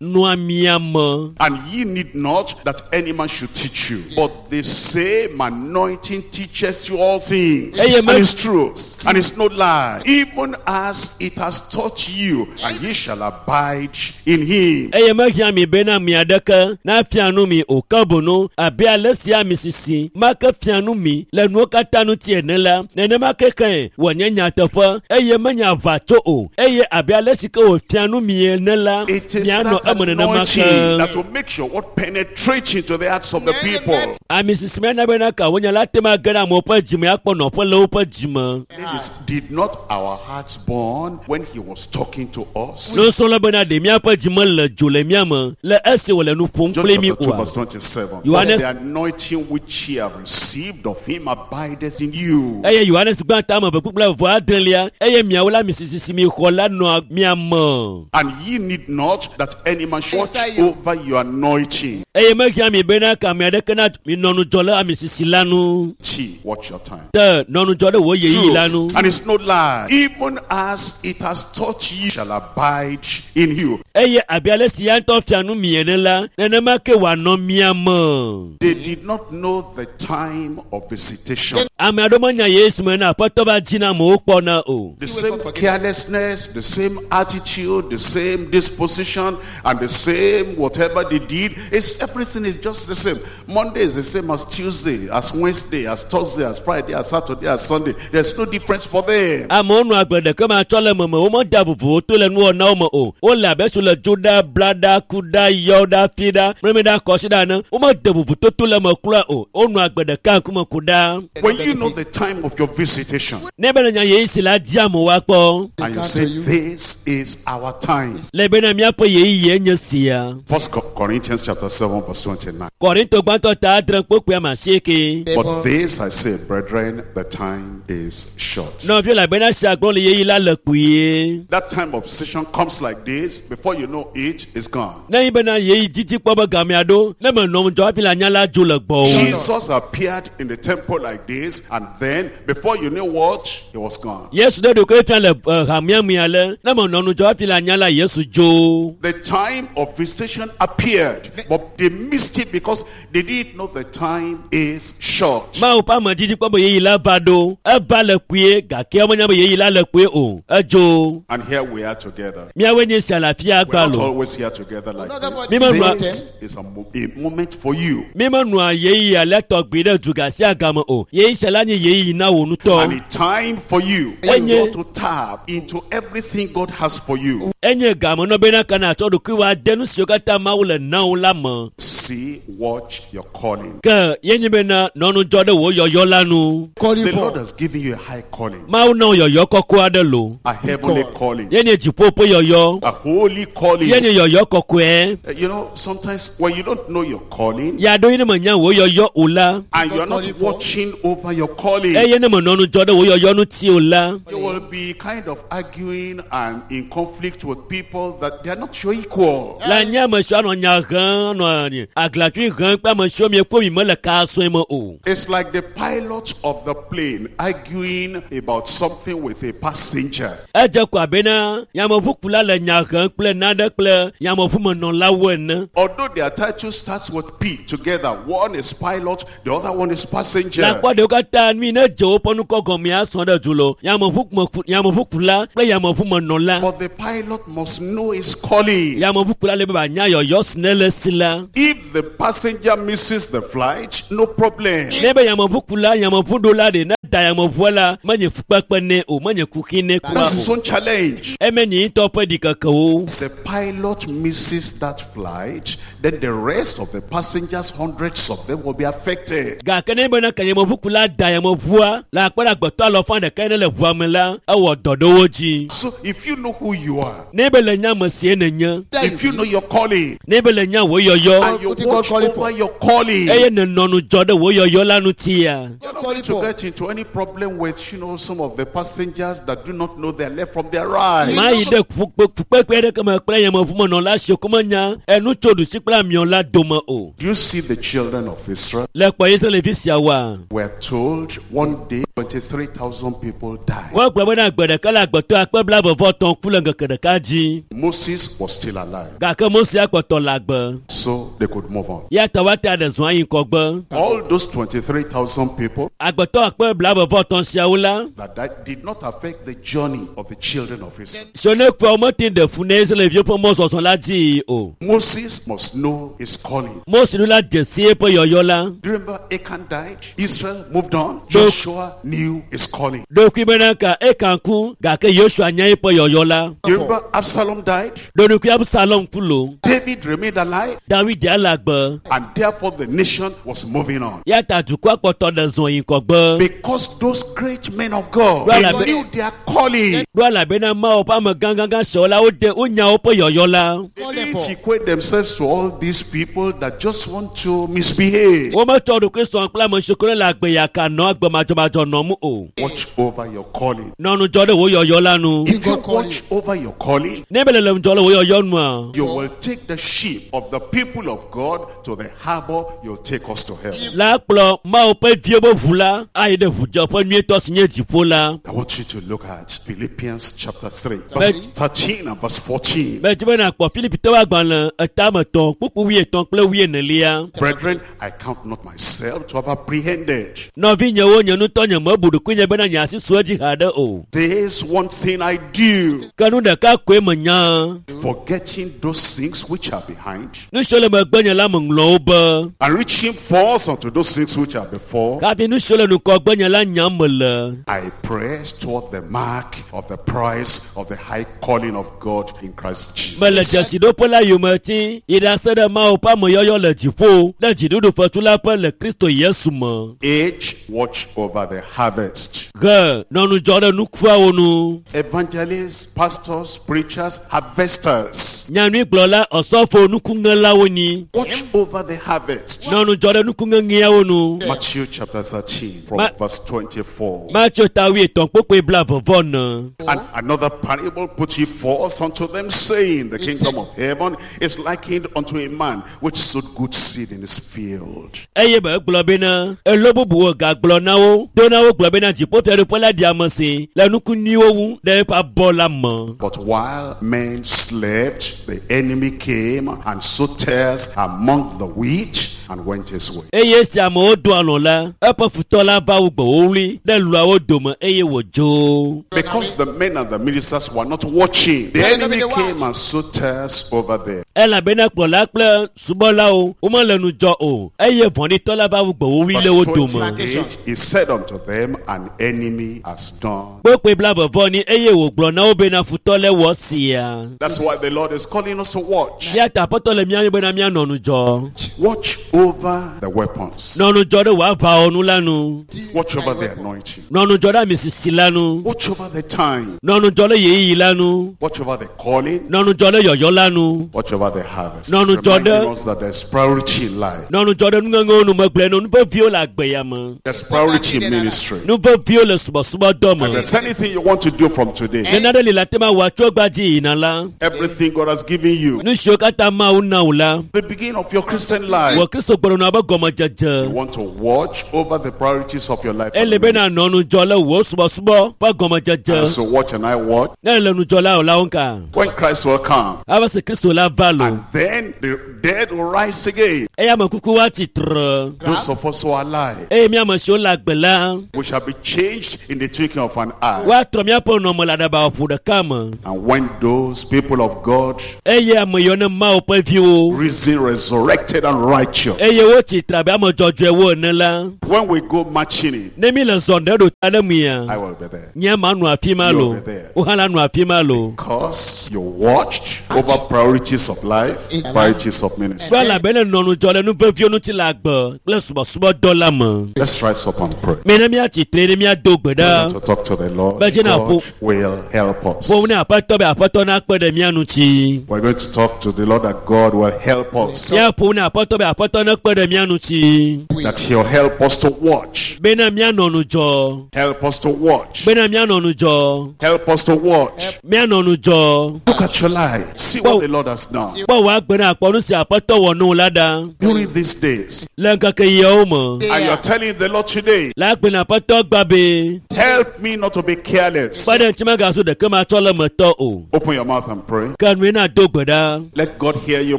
nɔa mia me. and ye need not that any man should teach you. But the same anointing teaches you all things, Hey, and man. it's truth, and it's no lie, even as it has taught you, and ye shall abide in him. Eye mehiã mi bena mi aɖeke nafia nu mi o ke boŋ abe ale si amisisi ma ke fia nu mi le nuwo katã ŋuti ene la nenema ke ke wònye nyateƒe eye menye aʋatso o eye abe ale si ke wòfia nu mi ene la It is mianɔ that eme nenema anointing ke. that will make sure what penetrates into the hearts of the people. Amisisi ma na bena ka wonya la te ma ge ɖe amewo ƒe dzime akpɔ nɔƒe le woƒe dzime. Ladies, did not our hearts burn when he was talking to us? Nusrɔ̃la bena ɖe míaƒe dzime le dzo le mía me le esi wòle nu ƒom John kpli mí chapter two, oa. verse twenty-seven. Yohanes- But the anointing which ye have received of him abideth in you. Eye Yohanes gbã ta ame eve kpukpui vɔ adrelia eye miawo la amisisi si mi xɔ la nɔa mia me. And ye need not that any man should watch over your anointing. Eye mehiã mi bena ka ame aɖeke na minɔ ŋudzɔ le amisisi la nu. T, watch your time. Te nɔ ŋudzɔ ɖe wò ɣeyiɣi la nu. Truth, and it's no lie. Even as it has taught you, shall abide in you. Eye abe ale si ya ŋutɔ fia nu mi ene la nenema ke wòanɔ mia me. They did not know the time of visitation. Ame aɖewo menya Yesu me na aƒetɔ va dzi na amewo kpɔna o. The same carelessness, the same attitude, the same disposition, and the same whatever they did. It's everything is just the same. Monday is the same as Tuesday, as Wednesday, as Thursday, as Friday, as Saturday, as Sunday. There's no difference for them. Amewo nɔ agbe ɖeke ma tsɔ le meme womedea vovowo to le nuwɔnawo me o. Wole abe si le dzo ɖa, bla ɖa, ku ɖa, yɔ ɖa, fi ɖa, mlɔmi ɖa, kɔsi ɖa ene. Womede vovototo le eme kura o. Wonɔ agbe ɖeka ŋkume ku ɖa. When you know the time of your visitation, Ne be le nya ɣeyiɣi si la di amewo akpɔ. And you come say, to you. this is our time. Le bena míaƒe ɣeyiɣie nye sia. First Corinthians chapter seven, verse twenty-nine. Korinto gbãtɔ ta adre kpokpoe ame asieke. But this I say, brethren, the time is short. Nɔviwo le bena sia gblɔm le ɣeyiɣi la le kpuie. That time of station comes like this, before you know it, it's gone. Ne yi bena ɣeyiɣi didi kpɔ be gamea ɖo, ne menɔ ŋudzɔ hafi le anya la dzo le gbɔwò. Jesus appeared in the temple like this, and then before you knew what, he was gone. Yesu ɖe ɖokui fia le eh, hamea me ale, ne menɔ ŋudzɔ hafi le anya la Yesu dzo. The time of visitation appeared, but they missed it because they didn't know the time is short. Mawu ƒe ame didi kpɔ be ɣeyiɣi la va ɖo, eva le kpuie gake womenya be ɣeyiɣi la le kpuie o. Edzo. And here we are together. Míawoe nye sia le afia We're not gbalo. always here together like Not this. always. This is a, mo- a moment for you. Mímenɔa ɣeyiɣi alea tɔgbi ɖe duga sia game o. Ɣeyiɣi sia la nye ɣeyiɣi na wò And ŋutɔ. a time for you. Enye- You got to tap into everything God has for you. Enye game nɔ bena ka nàtsɔ ɖokuiwò ade nu siwo katã Mawu le na wò la me. See, watch your calling. Ke ye nye bena nɔ ŋudzɔ ɖe wò yɔyɔ la nu. Calling The Lord for. has given you a high calling, Mawu na wò yɔyɔ kɔkɔe aɖe lo. a heavenly Call. calling, Ye nye dziƒo ƒe yɔyɔ. a holy calling. Ye nye yɔyɔ kɔkɔe. Uh, You know, sometimes when you don't know your calling Ya ɖo ye ne menya wò yɔyɔ o la, and you're not Calling for. watching over your calling, eye ne menɔ ŋudzɔ ɖe wò yɔyɔ ŋuti o la, you will be kind of arguing and in conflict with people that they are not your equal. le nye ame siwo anɔ nya hem, anɔ aglatui hem kple ame siwo miekpɔ mi mele ka sɔe me o. It's like the pilot of the plane arguing about something with a passenger. Edze ko abena yameʋukula le nya hem kple nane kple yameʋumenɔlawo ene. Although their title starts with P together, one is pilot, the other one is Le passenger. akpɔ ɖewo katã nui ne dze woƒe nukɔ gɔmea sɔ ɖe du lo yameʋukume yameʋukula kple yameʋumenɔla. But the pilot must know his calling. Yameʋukula le be wòanya yɔyɔ si ne le si la. If the passenger misses the flight, no problem. Ne be yameʋukula yameʋuɖola ɖe ne da yameʋua la menye fukpekpe nɛ o menye kuxi nɛ kura That's his o. own challenge. Eme nye ŋutɔ ƒe ɖikekewo. The pilot misses that flight, then the rest of the passengers, hundreds of them, will be affected. Gake ne bena ke yameʋukula da yameʋua le akpe ɖe agbetɔ alɔfa ɖeka ne le ʋua me la ewɔ dɔ ɖe wo dzi. So if you know who you are, Ne be le nya ame sie nenye, if you know your calling, ne be le nya wò yɔyɔ and you What you watch call calling over for? your calling, eye nenɔ ŋudzɔ ɖe wò yɔyɔ la ŋutia. you're not Calling going to for. get into any problem with, you know, some of the passengers that do not know their left from their right. Ma yi ɖe fukpe- fukpekpe aɖeke me kple yameʋumenɔla siwo ko menya enu tso ɖusi kple amiɔ la dome o. Do you see the children of Israel? Le kpɔ Israelvi siawoa, We're told one day twenty-three thousand people died. wogblɔ bena gbe ɖeka le agbetɔ akpe blaeve vɔ etɔ̃ ku le ŋkeke ɖeka dzi. Moses was still alive, Gake Mose akpɔtɔ le agbe. so they could move on. Ya ta woate aɖe zɔn ayi ŋgɔgbe. All those twenty-three thousand people Agbetɔ akpe blaeve vɔ etɔ̃ siawo la, that died did not affect the journey of the children of Israel. siwo ne kua womete ɖe fu na Israelviwo ƒe mɔzɔzɔ la dzi o. Moses must know his calling. Mose ɖo la dze si eƒe yɔyɔ la. Do you remember Achan died? Israel moved on. So- Joshua knew his calling. Ɖokui bena ka Ekan ku gake Yosua nya eƒe yɔyɔ la. Do you remember Absalom died? Ɖonukui Absalom ku lo. David remained alive, David ya le agbe. and therefore the nation was moving on. Ya ta dukɔa kpɔtɔ ɖe zɔn yi ŋgɔgbe. Because those great men of God, Well, they I be- knew their calling. Ɖo elabena Mawu ƒe ame gãgãgã siawo la wode wonya woƒe yɔyɔ la. They Calling didn't for. equate themselves to all these people that just want to misbehave. Wometsɔ ɖokui sɔ kple ame siwo ke le agbe yaka nɔ agbe madzɔmadzɔ nɔm o. Watch over your calling. Nɔ ŋudzɔ ɖe wò yɔyɔ la nu. If you God call watch over your calling, Ne be le le ŋudzɔ ɖe wò yɔyɔ nua, you will take the ship of the people of God to the harbor. You'll take us to heaven. la kplɔ Mawu ƒe viwo ƒe ʋu la ayi ɖe ʋudzeƒe nyuietɔ si nye dziƒo la. I want you to look at Philippians chapter three, verse thirteen and verse fourteen. Medzi be nàkpɔ Filipitɔwo agbalẽ etame etɔ̃ kpukpu wuietɔ̃ kple wuienelia. Brethren, I count not myself to have apprehended. Nɔvinyewo nye ŋutɔ nye mebu ɖokuinye bena nye asi su edzi haɖe o. This one thing I do, Ke nu ɖeka koe menya. forgetting those things which are behind Nu siwo le megbenye la meŋlɔ wo be. and reaching forth unto those things which are before. Hafi nu siwo le ŋgɔgbenye la nyam mele. I press toward the mark of the prize of the high calling of God in Christ Jesus. Mele dzesiɖoƒe la yome ti yi ɖase ɖe Mawu ƒe ameyɔyɔ le dziƒo ɖe dziɖuɖu fetu la ƒe le Kristo Yesu me. Age, watch over the harvest. Ge nɔ ŋudzɔ ɖe nukuawo nu. Evangelists, pastors, preachers, harvesters. Nyanyuigblɔla ɔsɔfo nukuŋelawo nyi. Watch over the harvest. Nɔ ŋudzɔ ɖe nukuŋeŋeawo nu. Matthew chapter thirteen from Ma- verse twenty-four. Mateo ta wuietɔ̃ kpokpoe blaeve vɔ ene. And another parable put he forth unto them, saying, the kingdom of heaven is likened unto a man which sowed good seed in his field. Eye be egblɔ bena elo bubuwo gagblɔ na wo do na wo gblɔ bena dziƒofiaɖuƒe la ɖi ame si le nuku nyuiwo ŋu ɖe eƒe abɔ la me. But while men slept, the enemy came and sowed tares among the wheat and went his way. Eye esi amewo do alɔ̃ la, eƒe futɔ la va wu gbe wowli ɖe luawo dome eye wòdzo. Because the men and the ministers were not watching, the enemy came and sowed tares over there. Elabena kplɔla kple subɔlawo womele ŋudzɔ o eye vɔ̃ɖitɔ la va wu gbe wowli Verse le wo dome. twenty-eight, he said unto them, an enemy has done. Kpokpoe blaeve vɔ ni eye wògblɔ na wo bena futɔ le wɔ sia. That's why the Lord is calling us to watch. Eya ta Aƒetɔ le mía yɔm bena míanɔ ŋudzɔ. Watch over the weapons. Nɔ ŋudzɔ ɖe wò aʋawɔnu la nu. Watch over the anointing. Nɔ ŋudzɔ ɖe amisisi la nu. Watch over the time. Nɔ ŋudzɔ ɖe ɣeyiɣi la nu. Watch over the calling. Nɔ ŋudzɔ ɖe yɔyɔ la nu. Watch over the harvest. No, no, It's reminding Jordan. us that there's priority in life. Nɔ ŋudzɔ ɖe nuŋeŋewo nu megblẽ nu. Nu veviwo le agbe ya me. There's priority in ministry. Nu veviwo le subɔsubɔdɔ If me. there's anything you want to do from today, Ne nane li le ate ma wɔ tso egbea dzi yina la, everything God has given you, nu siwo katã Mawu na wò la, the beginning of your Christian life, wò Kristo gbɔdɔnɔ ƒe you gɔmedzedze. want to watch over the priorities of your life. Ele be na nɔ ŋudzɔ le wò subɔsubɔ ƒe gɔmedzedze. And so watch and I watch. Ne ele ŋudzɔ la o la wo ŋka. When Christ will come, Ava se Kristo la va lo. and then the dead will rise again. Eya ame kuku wa tsitre. Those of us who are alive, Eye mía ame siwo le agbe la, we shall be changed in the twinkling of an eye. woatrɔ míaƒe nɔnɔme le aɖabaƒoƒo ɖeka me. And when those people of God, Eye ame yiwo ne Mawu ƒe viwo, risen, resurrected, and righteous, eye wotsitre abe ame dzɔdzɔewo ene la, when we go marching in, ne mi le zɔ ɖe ɖo ta ɖe mia, I will be there. nye ma nɔ afi ma lo, You will be there. wo hã la nɔ afi ma lo. Because you watched over priorities of life, priorities of ministry. Kple elabena nɔ ŋudzɔ le nu veviwo ŋuti le agbe kple subɔsubɔdɔ la me. Let's rise up and pray. Mina míatsitre ne míado gbe We ɖa. want to talk to the Lord. But you know, God will help us. Ƒo ne Aƒetɔ be Aƒetɔ nakpe ɖe mía ŋuti. We're going to talk to the Lord that God will help us. Míaƒo ne Aƒetɔ be Aƒetɔ nekpe ɖe mía ŋuti. That He'll help us to watch. Bena míanɔ ŋudzɔ. Help us to watch. Bena míanɔ ŋudzɔ. Help us to watch. Míanɔ ŋudzɔ. Look at your life. See what the Lord has done. Kpɔ wò agbe ne akpɔ nu si Aƒetɔ wɔ nɔ la ɖa. During these days. Le ŋkeke yiawo me. And you're telling the Lord today, Le agbe na Aƒetɔ gba be. help me not to be careless. Kpe ɖe ŋuti megazu ɖeke matsɔ le metɔ o. Open your mouth and pray. Ke nue na do gbe ɖa. Let God hear you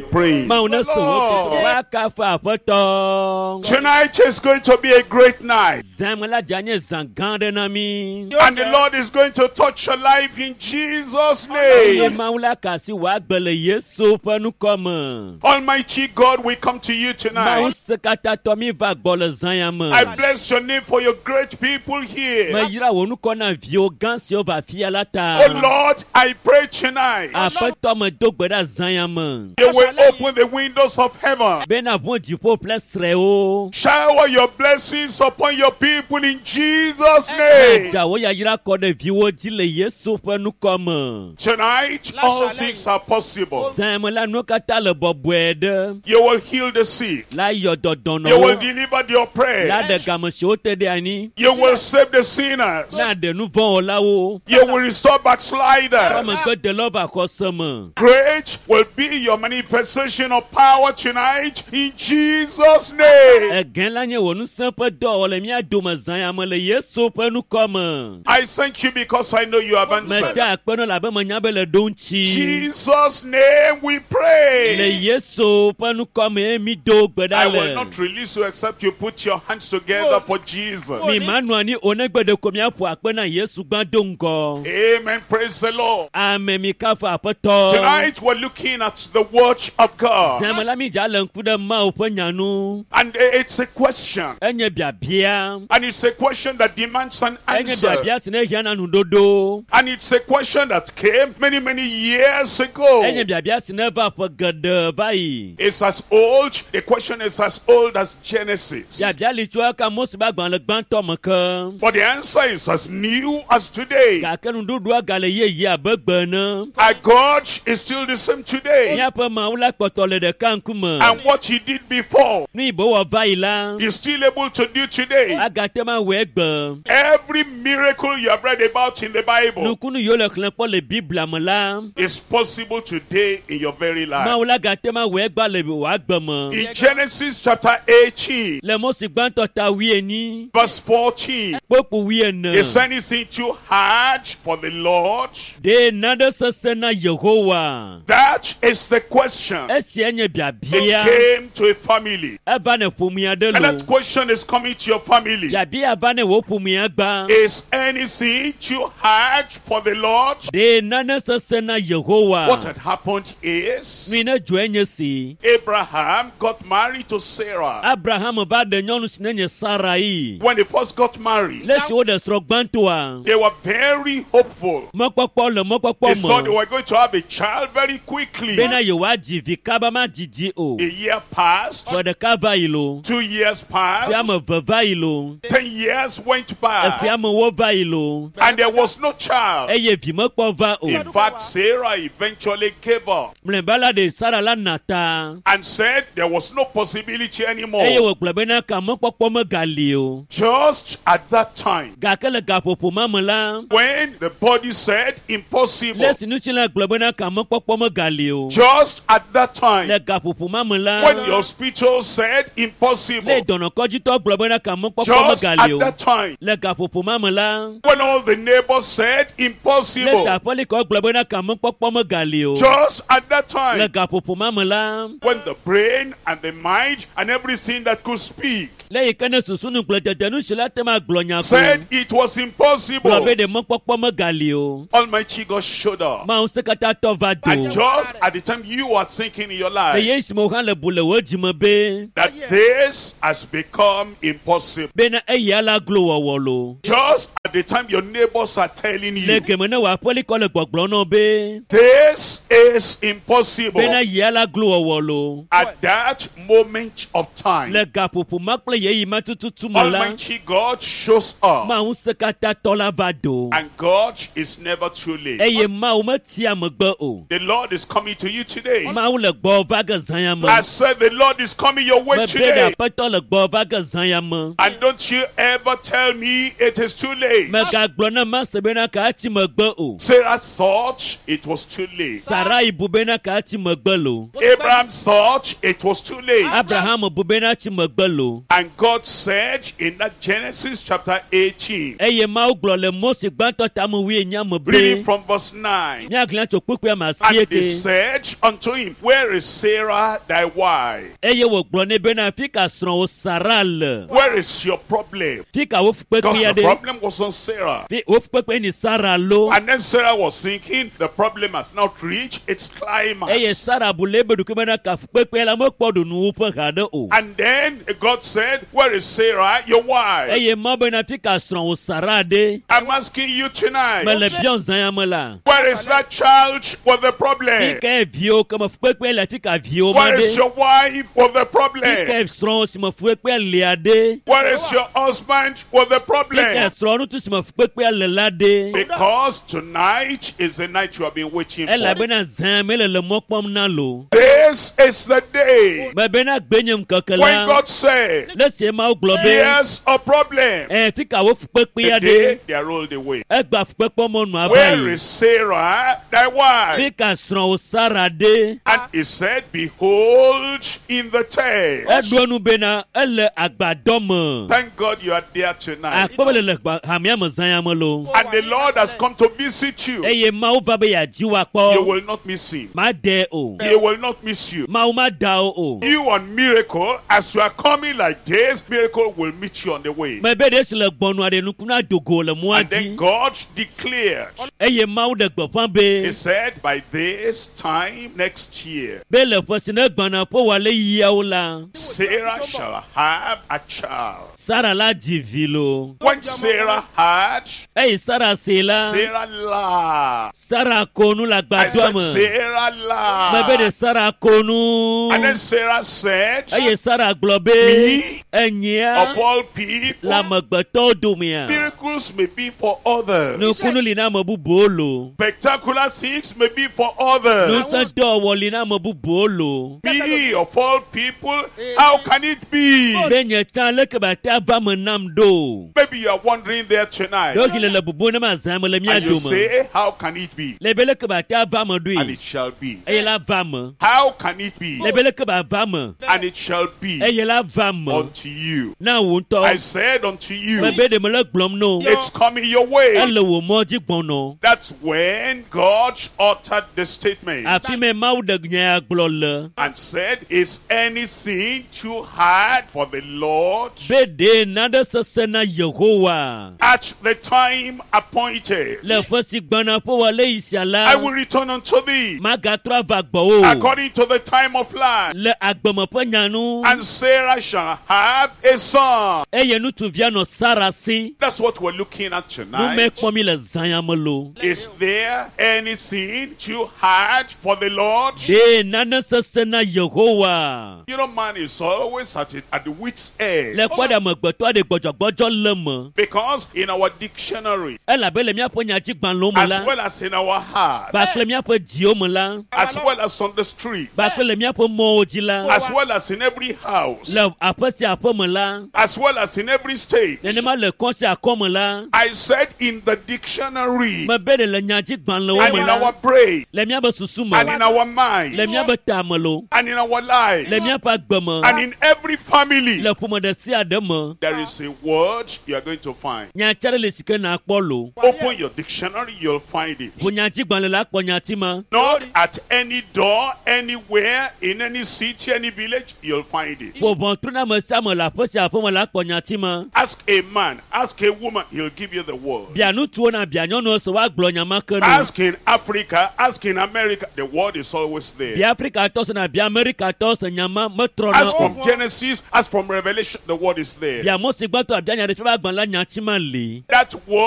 praying. Mawu ne se wò Lord. woakafu Aƒetɔ. Tonight is going to be a great night. Zã me la dze anye zã gã aɖe na mí. And the Lord is going to touch your life in Jesus' Eye name. Mawu la ka asi wò agbe le Yesu ƒe ŋkɔ me. Almighty God, we come to you Mawu tonight. se katã tɔ mí va gbɔ le zã ya me. I bless your name for your great people here. Meyra wò ŋkɔ na viwo gã siwo va afia la ta. Oh Lord, I pray tonight. Aƒetɔ me do gbe ɖa zã ya me. You will open the windows of heaven. Bena ʋu dziƒo ƒe srɛwo. Shower your blessings upon your people in Jesus' name. Dza wò yayra kɔ ɖe viwo dzi le Yesu ƒe ŋkɔ me. Tonight, all things are possible. Zã ya me la nuwo katã le bɔbɔe ɖe. You will heal the sick. La yɔ You will dɔdɔnɔwo. deliver the La oppressed. ɖe game siwo te ɖe anyi. You will save the sinners. Na ɖe nu vɔ̃wɔlawo. You will restore backsliders. Amegbedelawo va xɔse me. Great will be your manifestation of power tonight in Jesus' name. Egã la nye wò ŋusẽ ƒe dɔwɔwɔ le mía dome zã ya me le Yesu ƒe ŋkɔ me. I thank you because I know you have answered. Meda akpe nɔ labe menya be le ɖo ŋuti. Jesus' name we Le pray. Yesu ƒe ŋkɔ me mi do gbe I ɖa will le. not release you except you put your hands together for Jesus. Mi ma nɔ anyi o negbe ɖeko miaƒo akpe na Yesu gbã do ŋgɔ. Amen. Praise the Lord. Ame mi kafu Aƒetɔ. Tonight we're looking at the word of God. Zã me la mi dza le ŋku ɖe Mawu ƒe nya nu. And it's a question. Enye biabia. And it's a question that demands an Enye answer. biabia si ne hiã na nuɖoɖo. And it's a question that came many, many years ago. Enye biabia si ne eva ƒe geɖe va yi. It's as old, the question is as old as Genesis. Biabia li tso eka Mose ƒe agbalẽ gbãtɔ me ke. But the answer is as new as today. Gake nuɖuɖua gale yeye abe gbe ene. Our God is still the same today. Míaƒe Mawu la kpɔtɔ le ɖeka ŋkume. And what he did before, Nu yi be wɔ va yi la, he's still able to do today. agate ŋu awɔe egbe. Every miracle you have read about in the Bible Nukunu yiwo le xlẽ kpɔ le Biblia me la, is possible today in your very life. Mawu la gate ŋu awɔe egba le wò agbe me. In Genesis chapter eighteen, Le Mose gbãtɔ ta wuienyi, verse fourteen, kpokpo wuiene. is anything too hard for the Lord? Ɖe nane sesẽ na Yehowa? That is the question. Esia nye It biabia. came to a family. Eva ne ƒomea ɖe And lo. that question is coming to your family. Biabia va ne wò ƒomea gba. Is anything too hard for the Lord? Ɖe nane sesẽ na Yehowa? What had happened is Nu yi ne dzɔe nye si. Abraham got married to Sarah. Abraham va ɖe nyɔnu si ne nye Sarai. When they first got married, Le esi woɖe srɔ̃ gbãtɔa, they were very hopeful. mɔkpɔkpɔ le mɔkpɔkpɔ They saw they me were going to have a child very quickly. bena yewoadzi vi kaba madzidzi o. A year passed, Ƒe ɖeka va yi lo, two years ƒe passed, ame eve va yi lo, ten years went by, eƒe amewo va yi lo, and there was no child. eye vi mekpɔ va o. In fact, Sarah eventually gave up Mlɔeba la ɖe Sara la na ta and said there was no possibility eye anymore. wògblɔ bena ka mɔkpɔkpɔ megali o. Just at that time, Gake le gaƒoƒo ma me la, when the body said impossible, le esi ŋutilã gblɔ bena ka mɔkpɔkpɔ megali o. just at that time, Le gaƒoƒo ma me la, when the hospital said le impossible, dɔnɔkɔdzitɔ gblɔ bena ka mɔkpɔkpɔ just megali at o. that time, Le gaƒoƒo ma me la, when all the neighbors said le impossible, aƒelikɔ gblɔ bena ka mɔkpɔkpɔ megali o. just at that Le time, gaƒoƒo ma me la, when the brain and the mind and everything that could speak le yi ke ne susu nugblẽdede nu si la te ma gblɔ nya ko said it was gblɔ impossible, be ɖe mɔkpɔkpɔ megali o. Almighty God showed up. Mawu ŋusẽkatãtɔ va do. And just at the time you are thinking in your Le life ye esime wo hã le bu le wò dzime be that this has become impossible, bena eya la glo wɔwɔ lo. just at the time your neighbors are telling Le you geme ne wò aƒelikɔ le gbɔgblɔ nɔ be this is impossible, bena yia la glo wɔwɔ lo. at that moment of time, Le gaƒoƒo ma kple yeyi ma tututu me la, Almighty God shows up. Mawu ŋusẽkatãtɔ la va do. And God is never too late. Eye Mawu metia megbe o. The Lord is coming to you today. Mawu le gbɔ va ge zã ya me. I said the Lord is coming your way Mebe ɖe today. aƒetɔ le gbɔ va ge zã ya me. And don't you ever tell me it is too late. Megagblɔ na Mase bena ka ati megbe o. Sarah thought it was too late. Sarai bu bena ka ati megbe lo. Abraham thought it was too late. Abraham bu bena ati megbe lo. And God said in that Genesis chapter eighteen, Eye Mawu gblɔ le Mose gbãtɔ tame wuienyi me reading be from verse nine. míaxlẽ tso kpukpui ame And asieke. they said unto him, Where is Sarah thy wife? Eye wògblɔ nɛ bena fi ka srɔ̃wò Sara le. Where is your problem? Fi ka wò Because fukpekpea the ɖe. problem was on Sarah. Fi wò fukpekpe ni Sara lo. And then Sarah was thinking, the problem has not reached its Eye climax. Sara bu le ebe ɖokui bena ka fukpekpea la mekpɔ ɖo nuwuƒe haɖe o. And then God said, Where is Sarah, your wife? Eye Mawu bena fi ka srɔ̃wò Sara ɖe. I'm asking you tonight, Mele biɔ zã ya me la. where is that child with the Fi problem? ka viwo ke me fukpekpe le fi ka viwo ma Where is ɖe. your wife with the Fi problem? ka srɔ̃wò si me fukpekpea lia ɖe. Where is your husband with the Fi ka problem? srɔ̃ ŋutsu si me fukpekpea le la ɖe. Because tonight is the night you have been waiting for. Elabena zã me le le mɔ kpɔm na lo. This is the day Mebena gbe nye ŋkeke when la. God said, Le sie Mawu gblɔ be. Here's a problem. Ɛ fi ka wo fukpekpea The ɖe. day they are rolled away. Egba fukpekpe mɔnu ava Where yi. is Sarah, thy wife? Fi ka srɔ̃wò Sara ɖe. And he said, Behold, in the tent. Eɖo enu bena ele agbadɔ me. Thank God you are there tonight. Akpɔ be le le gba- hamea me zã ya me lo. And the Lord has come to visit you. Eye Mawu va be yeadzi wò You akpɔ. will not miss him. Made o. He will not miss you. Mawu mada wo o. You on miracle, as you are coming like this, miracle will meet you on the way. Mebe ɖe si le gbɔnua ɖe nukuna dogo le mɔa And then dzi. God declared, Eye Mawu ɖe gbeƒã be He said, by this time next year, be le ƒe si ne gbɔna ƒe wòale yiawo la, Sarah shall have a child. Sara la dzi vi lo. When Sarah heard, Eyi Sara se la, Sarah laughed. Sara ko nu le I agbadɔa said, me. Sarah Mebe ɖe laughed. Sara ko nu. And then Sarah said, Eye Sara gblɔ be Me, enyia of all le people, amegbetɔwo domea. miracles may be for others. Nukunu li na ame bubuwo lo. Spectacular things may be for others. Ŋusẽ dɔwɔwɔ li na ame bubuwo lo. Me, of all people, how can it be? Be nye tsã leke ba te ava me nam ɖo. Maybe you are wondering there tonight. Ɖewohĩ le le bubu ne ma zã me le mía And you dome. say, how can it be? Le be leke ba te ava me And ɖoe. it shall be. Eye la va me. How can it be? Le be leke ba va me. And it shall be Eye la va me. unto you. Na wò I ŋutɔ. said unto you, Mebe ɖe mele gblɔm no. it's coming your way. Ele wò mɔ dzi gbɔnɔ. That's when God uttered the statement Afi me Mawu ɖe nya ya gblɔ le. and said, Is anything too hard for the Lord? Be ɖe nane sesẽ na Yehowa. At the time appointed, Le ƒe si gbɔna ƒe wɔ le yi sia la. I will return unto thee Magatrɔ ava gbɔwò. according to the time of life. Le agbeme ƒe nya nu. And Sarah shall have a son. Eye ŋutsuvia nɔ Sara si. That's what we're looking at Nu me tonight. kpɔm mi le zã ya me lo. Is there anything too hard for the Lord? Ɖe nane sesẽ na Yehowa. You know, man is always at, it, at the wit's edge. Le kpɔ ɖe amegbetɔ aɖe gbɔdzɔgbɔdzɔ le me. Because in our dictionary, Elabe le míaƒe nyadzigbalẽwo me as la, well as in our heart, kpakple míaƒe dziwo me la, as well as on the street, kpakple le míaƒe mɔwo dzi la, as well as in every house, le aƒe sia aƒe me la, as well as in every state. nenema le kɔ sia kɔ me la, I said in the dictionary, mebe ɖe le nyadzigbalẽwo and me in la, our brain, le míaƒe susu me, and in our mind, le míaƒe tame lo, and in our le lives, míaƒe agbe me, and in every family, le ƒome ɖe sia ɖe me. there is a word you are going to find. Nyati aɖe le si ke nakpɔ lo. Open your dictionary, you'll find it. Ʋu nyadzigbalẽ la kpɔ nyati ma. Not at any door, anywhere, in any city, any village, you'll find it. Ƒo ʋɔtru na ame sia ame le aƒe sia aƒe me la kpɔ nyati ma. Ask a man, ask a woman, he'll give you the word. Bia ŋutsuwo na bia nyɔnuwo se woagblɔ nya ma ke no. Ask in Africa, ask in America, the word is always there. Bia Afrikatɔ se na bia Amerikatɔ se nya ma metrɔna Ask o. from Genesis, ask from Revelation, the word is there. Bia Mose gbãtɔ abia nya ɖe fiaƒe agbalẽ la nyati ma li. That word